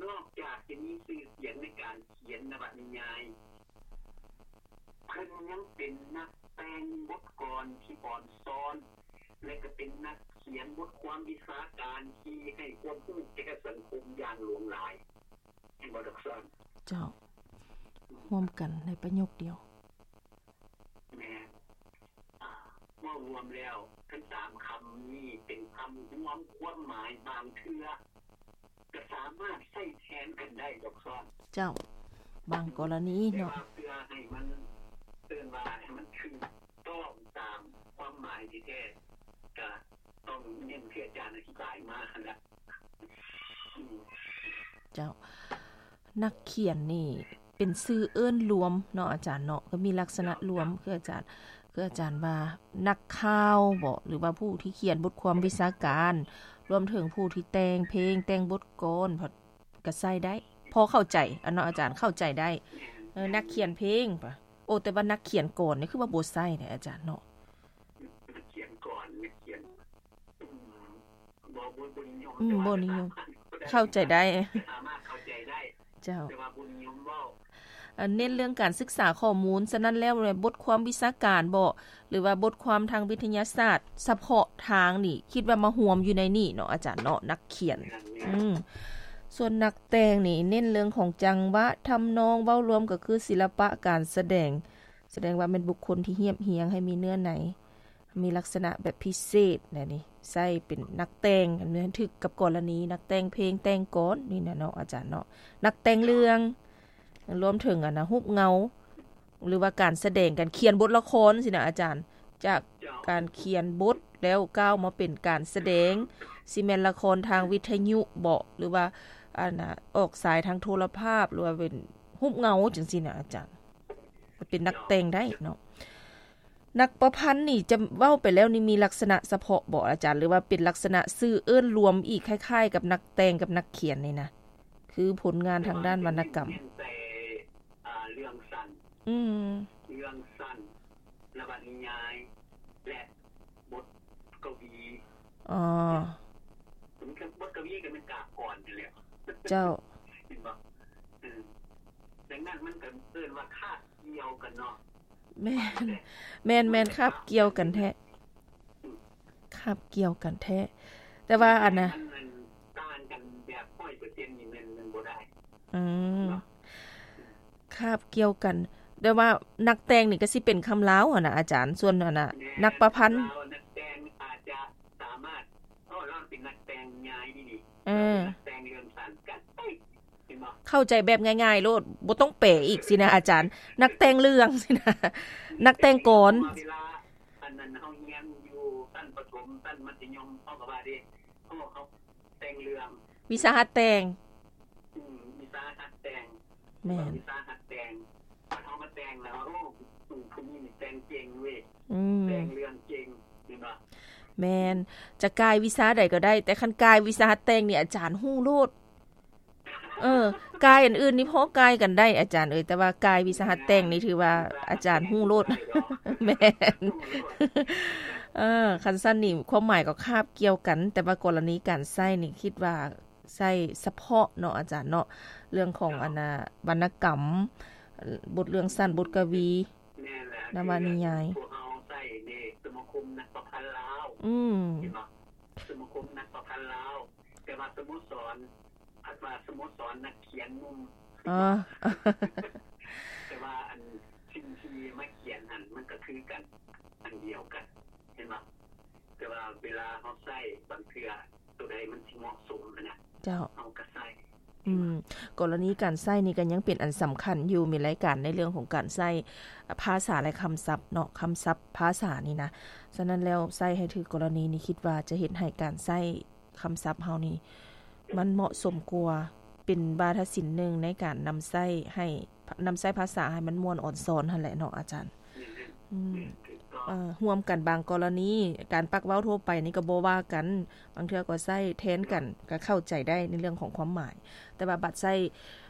ນອກຈາກຈະມີຊື່ສຽງໃນການຂຽນນະວະນິຍາຍ, ເພິ່ນຍັງເປັນນັກແຕ່ງບົດກອນທີ່ອ່ອນຊ້ອນ ແລະ ກໍເປັນນັກຂຽນບົດຄວາມວິຊາການທີ່ໃຫ້ຄວາມຮູ້ແກ່ສັງຄົມຢ່າງຫຼວງຫຼາຍ. ເຫັນບໍ່ດອກຊ້ອນ? ເຈົ້າ. ຮວມກັນໃນປະໂຫຍກດຽວ. ແມ່ນ. ເວົ້າລວມແລ້ວ ທັງສາມຄຳນີ້ເປັນຄຳລວມຄວາມໝາຍ, ບາງເທື່ອກໍສາມາດໃຊ້ແທນກັນໄດ້ດອກຊ້ອນ. ເຈົ້າ. ບາງກໍລະນີເນາະ. ແຕ່ວ່າເພື່ອໃຫ້ມັນ ເອີ້ນວ່າໃຫ້ມັນຖືກຕ້ອງຕາມຄວາມໝາຍແທ້ໆ ກໍຕ້ອງເນັ້ນທີ່ອາຈານອະທິບາຍມາຫັ້ນລະ. ເຈົ້າ. ນັກຂຽນນີ້ເປັນຊື່ເອີ້ນລວມເນາະອາຈານເນາະ, ກໍມີລັກສະນະລວມ ຄືອາຈານ ຄືອາຈານວ່ານັກຂ່າວບໍ ຫຼືວ່າຜູ້ທີ່ຂຽນບົດຄວາມວິຊາການ, ລວມເຖິງຜູ້ທີ່ແຕ່ງເພງ, ແຕ່ງບົດກອນ ກໍໃຊ້ໄດ້ ພໍເຂົ້າໃຈ ອັນເນາະອາຈານ ເຂົ້າໃຈໄດ້. ເອີ ນັກຂຽນເພງປະ ໂອ ແຕ່ວ່ານັກຂຽນກອນນີ້ຄືວ່າບໍ່ໃຊ້ເດ້ອາຈານເນາະ. ນັກຂຽນກອນ ນັກຂຽນ ອືມ ບໍ່ ບໍ່ ບໍ່ນິຍົມ ອືມ ແຕ່ວ່າ ບໍ່ນິຍົມ ສາມາດ ເຂົ້າໃຈໄດ້ ສາມາດເຂົ້າໃຈໄດ້. ເຈົ້າ. ແຕ່ວ່າບໍ່ນິຍົມເວົ້າ. ເອີ ເນັ້ນເລື່ອງການສຶກສາຂໍ້ມູນ, ສະນັ້ນແລ້ວ ບົດຄວາມວິຊາການບໍ ຫຼືວ່າບົດຄວາມທາງວິທະຍາສາດສະເພາະທາງນີ້ ຄິດວ່າມາຮວມຢູ່ໃນນີ້ເນາະອາຈານເນາະ ນັກຂຽນ. ແມ່ນ. ອືມ. ສ່ວນນັກແຕ່ງນີ້ເນັ້ນເລື່ອງຂອງຈັງຫວະ, ທຳນອງ, ເວົ້າລວມກໍຄືສິລະປະການສະແດງ. ສະແດງວ່າແມ່ນບຸກຄົນທີ່ຮຽບຮຽງໃຫ້ມີເນື້ອໃນ ມີລັກສະນະແບບພິເສດແນວນີ້ ໃຊ້ເປັນນັກແຕ່ງ ອັນນີ້ຖືກກັບກໍລະນີນັກແຕ່ງເພງແຕ່ງກອນນີ້ນະເນາະ ອາຈານເນາະ ນັກແຕ່ງເລື່ອງ ລວມເຖິງອັນນະ ຮູບເງົາ ຫຼືວ່າການສະແດງ ການຂຽນບົດລະຄອນຊີ້ນະອາຈານ ຈາກການຂຽນບົດແລ້ວກ້າວມາເປັນການສະແດງ ຊິແມ່ນລະຄອນທາງວິທະຍຸເບາະ ຫຼືວ່າອັນນະ ອອກສາຍທາງໂທລະພາບ ຫຼືວ່າເປັນຮູບເງົາຈັ່ງຊີ້ນະອາຈານ ເປັນນັກແຕ່ງໄດ້ເນາະ. ນັກປະພັນນີ້ຈະເວົ້າໄປແລ້ວນີ້ ມີລັກສະນະສະເພາະບໍ່ອາຈານ ຫຼືວ່າເປັນລັກສະນະຊື່ເອີ້ນລວມອີກ ຄ້າຍໆກັບນັກແຕ່ງກັບນັກຂຽນນີ້ນະ ຄືຜົນງານທາງດ້ານວັນນະກຳ ແຕ່ວ່າເປັນແຕ່ ອາ ເລື່ອງສັ້ນ ອືມ ເລື່ອງສັ້ນ ນະວະນິຍາຍ ແລະ ບົດກະວີ ອໍ ບົດກະວີກໍແມ່ນກາບກອນຫັ້ນແຫຼະ ເຈົ້າ ເຫັນບໍ່? ເອີ ດັ່ງນັ້ນມັນກໍເອີ້ນວ່າຄາບກ່ຽວກັນເນາະ ແມ່ນ ແມ່ນໆ ຄາບກ່ຽວກັນແທ້ ອືມ ຄາບກ່ຽວກັນແທ້ ແຕ່ວ່າອັນນະ ມັນ ມັນຕ່າງກັນແບບຮ້ອຍເປີເຊັນນີ້ແມ່ນ ແມ່ນບໍ່ໄດ້ ອືມ ເນາະ ຄາບກ່ຽວກັນ ແຕ່ວ່ານັກແຕ່ງນີ້ກໍຊິເປັນຄຳລາວຫັ້ນນະອາຈານ ສ່ວນອັນນະ ແມ່ນ ນັກປະພັນ ລາວ ນັກແຕ່ງອາດຈະສາມາດ ເພາະລາວເປັນນັກແຕ່ງນິຍາຍນີ້ ເອີ ເປັນນັກແຕ່ງເລື່ອງສັ້ນ ກໍໄດ້ ເຫັນບໍ່? ເຂົ້າໃຈແບບງ່າຍໆໂລດ ບໍ່ຕ້ອງແປອີກຊີ້ນະອາຈານ ນັກແຕ່ງເລື່ອງຊີ້ນະ ນັກແຕ່ງກອນ ເພາະວ່າເວລາອັນນັ້ນເຮົາຮຽນຢູ່ຊັ້ນປະຖົມ ຊັ້ນມັດທະຍົມ ເຮົາກໍວ່າເດ້ ເພາະເຮົາແຕ່ງເລື່ອງ ວິຊາຫັດແຕ່ງ ອືມ ວິຊາຫັດແຕ່ງ ແມ່ນ ວິຊາຫັດແຕ່ງ ເຮົາມາແຕ່ງແລ້ວ ໂອ້ ຜູ້ນີ້ນີ້ແຕ່ງເກັ່ງເວີຍ ອືມ ແຕ່ງເລື່ອງເກັ່ງ ເຫັນບໍ່? ແມ່ນ ຈະກ່າຍວິຊາໃດກໍໄດ້ ແຕ່ຄັນກ່າຍວິຊາຫັດແຕ່ງນີ້ ອາຈານຮູ້ໂລດ ເອີ ກ່າຍອັນອື່ນນີ້ພໍກ່າຍກັນໄດ້ ອາຈານເອີຍ ແຕ່ວ່າກ່າຍວິຊາຫັດແຕ່ງນີ້ ຖືວ່າອາຈານຮູ້ໂລດ ແມ່ນ ເອີ ຄັນຊັ້ນນີ້ ຄວາມໝາຍກໍຄາບກ່ຽວກັນ ແຕ່ວ່າກໍລະນີການໃຊ້ນີ້ ຄິດວ່າ ໃຊ້ສະເພາະເນາະອາຈານເນາະ ເລື່ອງຂອງອັນນະ ວັນນະກຳ ບົດເລື່ອງສັ້ນ ບົດກະວີ ແມ່ນແຫຼະ ນະວະນິຍາຍ ພວກເຮົາໃຊ້ເດ້ ສະມາຄົມນັກປະພັນລາວ ອືມ ເຫັນບໍ່? ສະມາຄົມນັກປະພັນລາວ ແຕ່ວ່າສະໂມສອນ ພັດວ່າສະໂມສອນນັກຂຽນໜຸ່ມ ອໍ ແຕ່ວ່າອັນສິ່ງທີ່ມາຂຽນຫັ້ນ ມັນກໍຄືກັນ ອັນດຽວກັນ ເຫັນບໍ່? ແຕ່ວ່າເວລາເຮົາໃຊ້ບາງເທື່ອ ໂຕໃດມັນຊິເໝາະສົມຫັ້ນນະ ເຈົ້າ ເຮົາກໍໃຊ້ ອືມ ກໍລະນີການໃຊ້ນີ້ກໍຍັງເປັນອັນສຳຄັນຢູ່ ມີລາຍການໃນເລື່ອງຂອງການໃຊ້ພາສາ ແລະ ຄຳສັບເນາະ ຄຳສັບພາສານີ້ນະ ສະນັ້ນແລ້ວໃຊ້ໃຫ້ຖືກກໍລະນີນີ້ ຄິດວ່າຈະເຮັດໃຫ້ການໃຊ້ຄຳສັບເຮົານີ້ ມັນເໝາະສົມກວ່າ ເປັນວາທະສິນໜຶ່ງໃນການນຳໃຊ້ໃຫ້ ນຳໃຊ້ພາສາໃຫ້ມັນມ່ວນອອນຊອນຫັ້ນແຫຼະເນາະອາຈານ ອືມ ເອີ ຮ່ວມກັນບາງກໍລະນີ ການປາກເວົ້າທົ່ວໄປນີ້ກໍບໍ່ວ່າກັນ ບາງເທື່ອກໍໃຊ້ແທນກັນ ກໍເຂົ້າໃຈໄດ້ໃນເລື່ອງຂອງຄວາມໝາຍ ແຕ່ວ່າບັດໃຊ້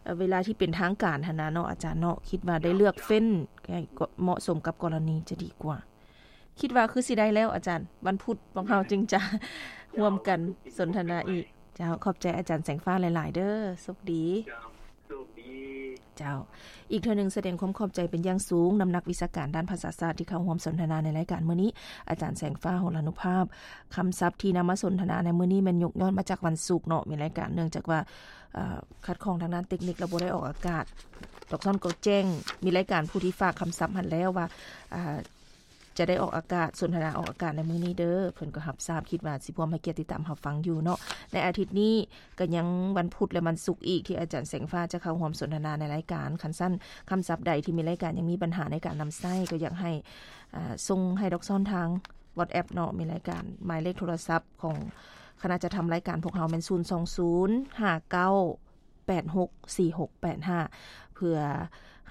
ເອີ ເວລາທີ່ເປັນທາງການຫັ້ນນະເນາະ ອາຈານເນາະ ຄິດວ່າໄດ້ເລືອກເຟ້ນໃຫ້ເໝາະສົມກັບກໍລະນີຈະດີກວ່າ. ຄິດວ່າຄືຊິໄດ້ແລ້ວອາຈານ ວັນພຸດພວກເຮົາຈຶ່ງຈະຮ່ວມກັນສົນທະນາອີກ. ເຈົ້າ ຂອບໃຈອາຈານແສງຟ້າຫຼາຍໆເດີ້ ໂຊກດີ. ເຈົ້າ ໂຊກດີ. ເຈົ້າ ອີກເທື່ອໜຶ່ງສະແດງຄວາມຂອບໃຈເປັນຢ່າງສູງນຳນັກວິຊາການດ້ານພາສາສາດທີ່ເຂົ້າຮ່ວມສົນທະນາໃນລາຍການມື້ນີ້ ອາຈານແສງຟ້າ ຫົລານຸພາບ. ຄຳສັບທີ່ນຳມາສົນທະນາໃນມື້ນີ້ແມ່ນຍົກຍ້ອນມາຈາກວັນສຸກເນາະ ມີລາຍການ ເນື່ອງຈາກວ່າ ເອີ ຂັດຂ້ອງທາງດ້ານເຕັກນິກ ແລ້ວບໍ່ໄດ້ອອກອາກາດ. ດອກຊອນກໍແຈ້ງ ມີລາຍການຜູ້ທີ່ຝາກຄຳສັບຫັ້ນແລ້ວວ່າ ອ່າ ຈະໄດ້ອອກອາກາດ ສົນທະນາອອກອາກາດໃນມື້ນີ້ເດີ້ ເພິ່ນກໍຮັບຊາບ ຄິດວ່າຊິພວມໃຫ້ກຽດຕິດຕາມຮັບຟັງຢູ່ເນາະ. ໃນອາທິດນີ້ກໍຍັງວັນພຸດ ແລະ ວັນສຸກອີກທີ່ອາຈານແສງຟ້າຈະເຂົ້າຮ່ວມສົນທະນາໃນລາຍການ. ຄັນຊັ້ນ ຄຳສັບໃດທີ່ມີລາຍການຍັງມີບັນຫາໃນການນຳໃຊ້ ກໍຢາກໃຫ້ ອ່າ ສົ່ງໃຫ້ດອກຊອນທາງ WhatsApp ເນາະ ມີລາຍການ ໝາຍເລກໂທລະສັບຂອງຄະນະຈັດທຳລາຍການພວກເຮົາແມ່ນ ສູນສອງສູນ ຫ້າເກົ້າ ແປດຫົກສີ່ຫົກແປດຫ້າ ເພື່ອ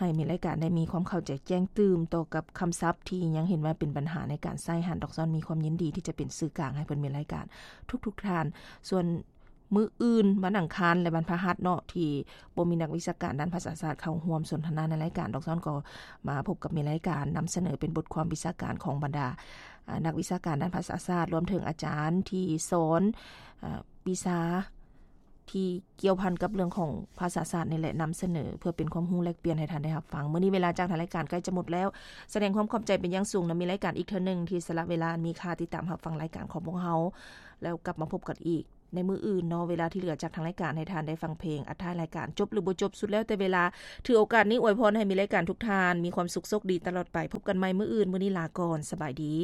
ໃຫ້ມີລາຍການໄດ້ມີຄວາມເຂົ້າໃຈແຈ້ງຕື່ມຕໍ່ກັບຄຳສັບທີ່ຍັງເຫັນວ່າເປັນບັນຫາໃນການໃຊ້ຫັ້ນ. ດອກຊອນມີຄວາມຍິນດີທີ່ຈະເປັນສື່ກາງໃຫ້ເພິ່ນມີລາຍການທຸກໆທ່ານ. ສ່ວນມື້ອື່ນ ວັນອັງຄານ ແລະ ວັນພະຫັດເນາະ ທີ່ບໍ່ມີນັກວິຊາການດ້ານພາສາສາດເຂົ້າຮ່ວມສົນທະນາໃນລາຍການ, ດອກຊອນກໍມາພົບກັບມີລາຍການນຳສະເໜີເປັນບົດຄວາມວິຊາການຂອງບັນດາ ອາ ນັກວິຊາການດ້ານພາສາສາດ, ລວມເຖິງອາຈານທີ່ສອນ ອາ ວິຊາ ທີ່ກ່ຽວພັນກັບເລື່ອງຂອງພາສາສາດນີ້ແຫຼະ ນຳສະເໜີເພື່ອເປັນຄວາມຮູ້ແລກປ່ຽນໃຫ້ທ່ານໄດ້ຮັບຟັງ. ມື້ນີ້ເວລາຈາກທາງລາຍການໃກ້ຈະໝົດແລ້ວ. ສະແດງຄວາມຂອບໃຈເປັນຢ່າງສູງນຳມີລາຍການອີກເທື່ອໜຶ່ງທີ່ສະຫຼະເວລາອັນມີຄ່າຕິດຕາມຮັບຟັງລາຍການຂອງພວກເຮົາ ແລ້ວກັບມາພົບກັນອີກ ໃນມື້ອື່ນເນາະ ເວລາທີ່ເຫຼືອຈາກທາງລາຍການໃຫ້ທ່ານໄດ້ຟັງເພງ ອັດທ້າຍລາຍການ ຈົບຫຼືບໍ່ຈົບ ສຸດແລ້ວແຕ່ເວລາ. ຖືໂອກາດນີ້ອວຍພອນໃຫ້ມີລາຍການທຸກທ່ານມີຄວາມສຸກໂຊກດີຕະຫຼອດໄປ. ພົບກັນໃໝ່ມື້ອື່ນ, ມື້ນີ້ລາກ່ອນ, ສະບາຍດີ.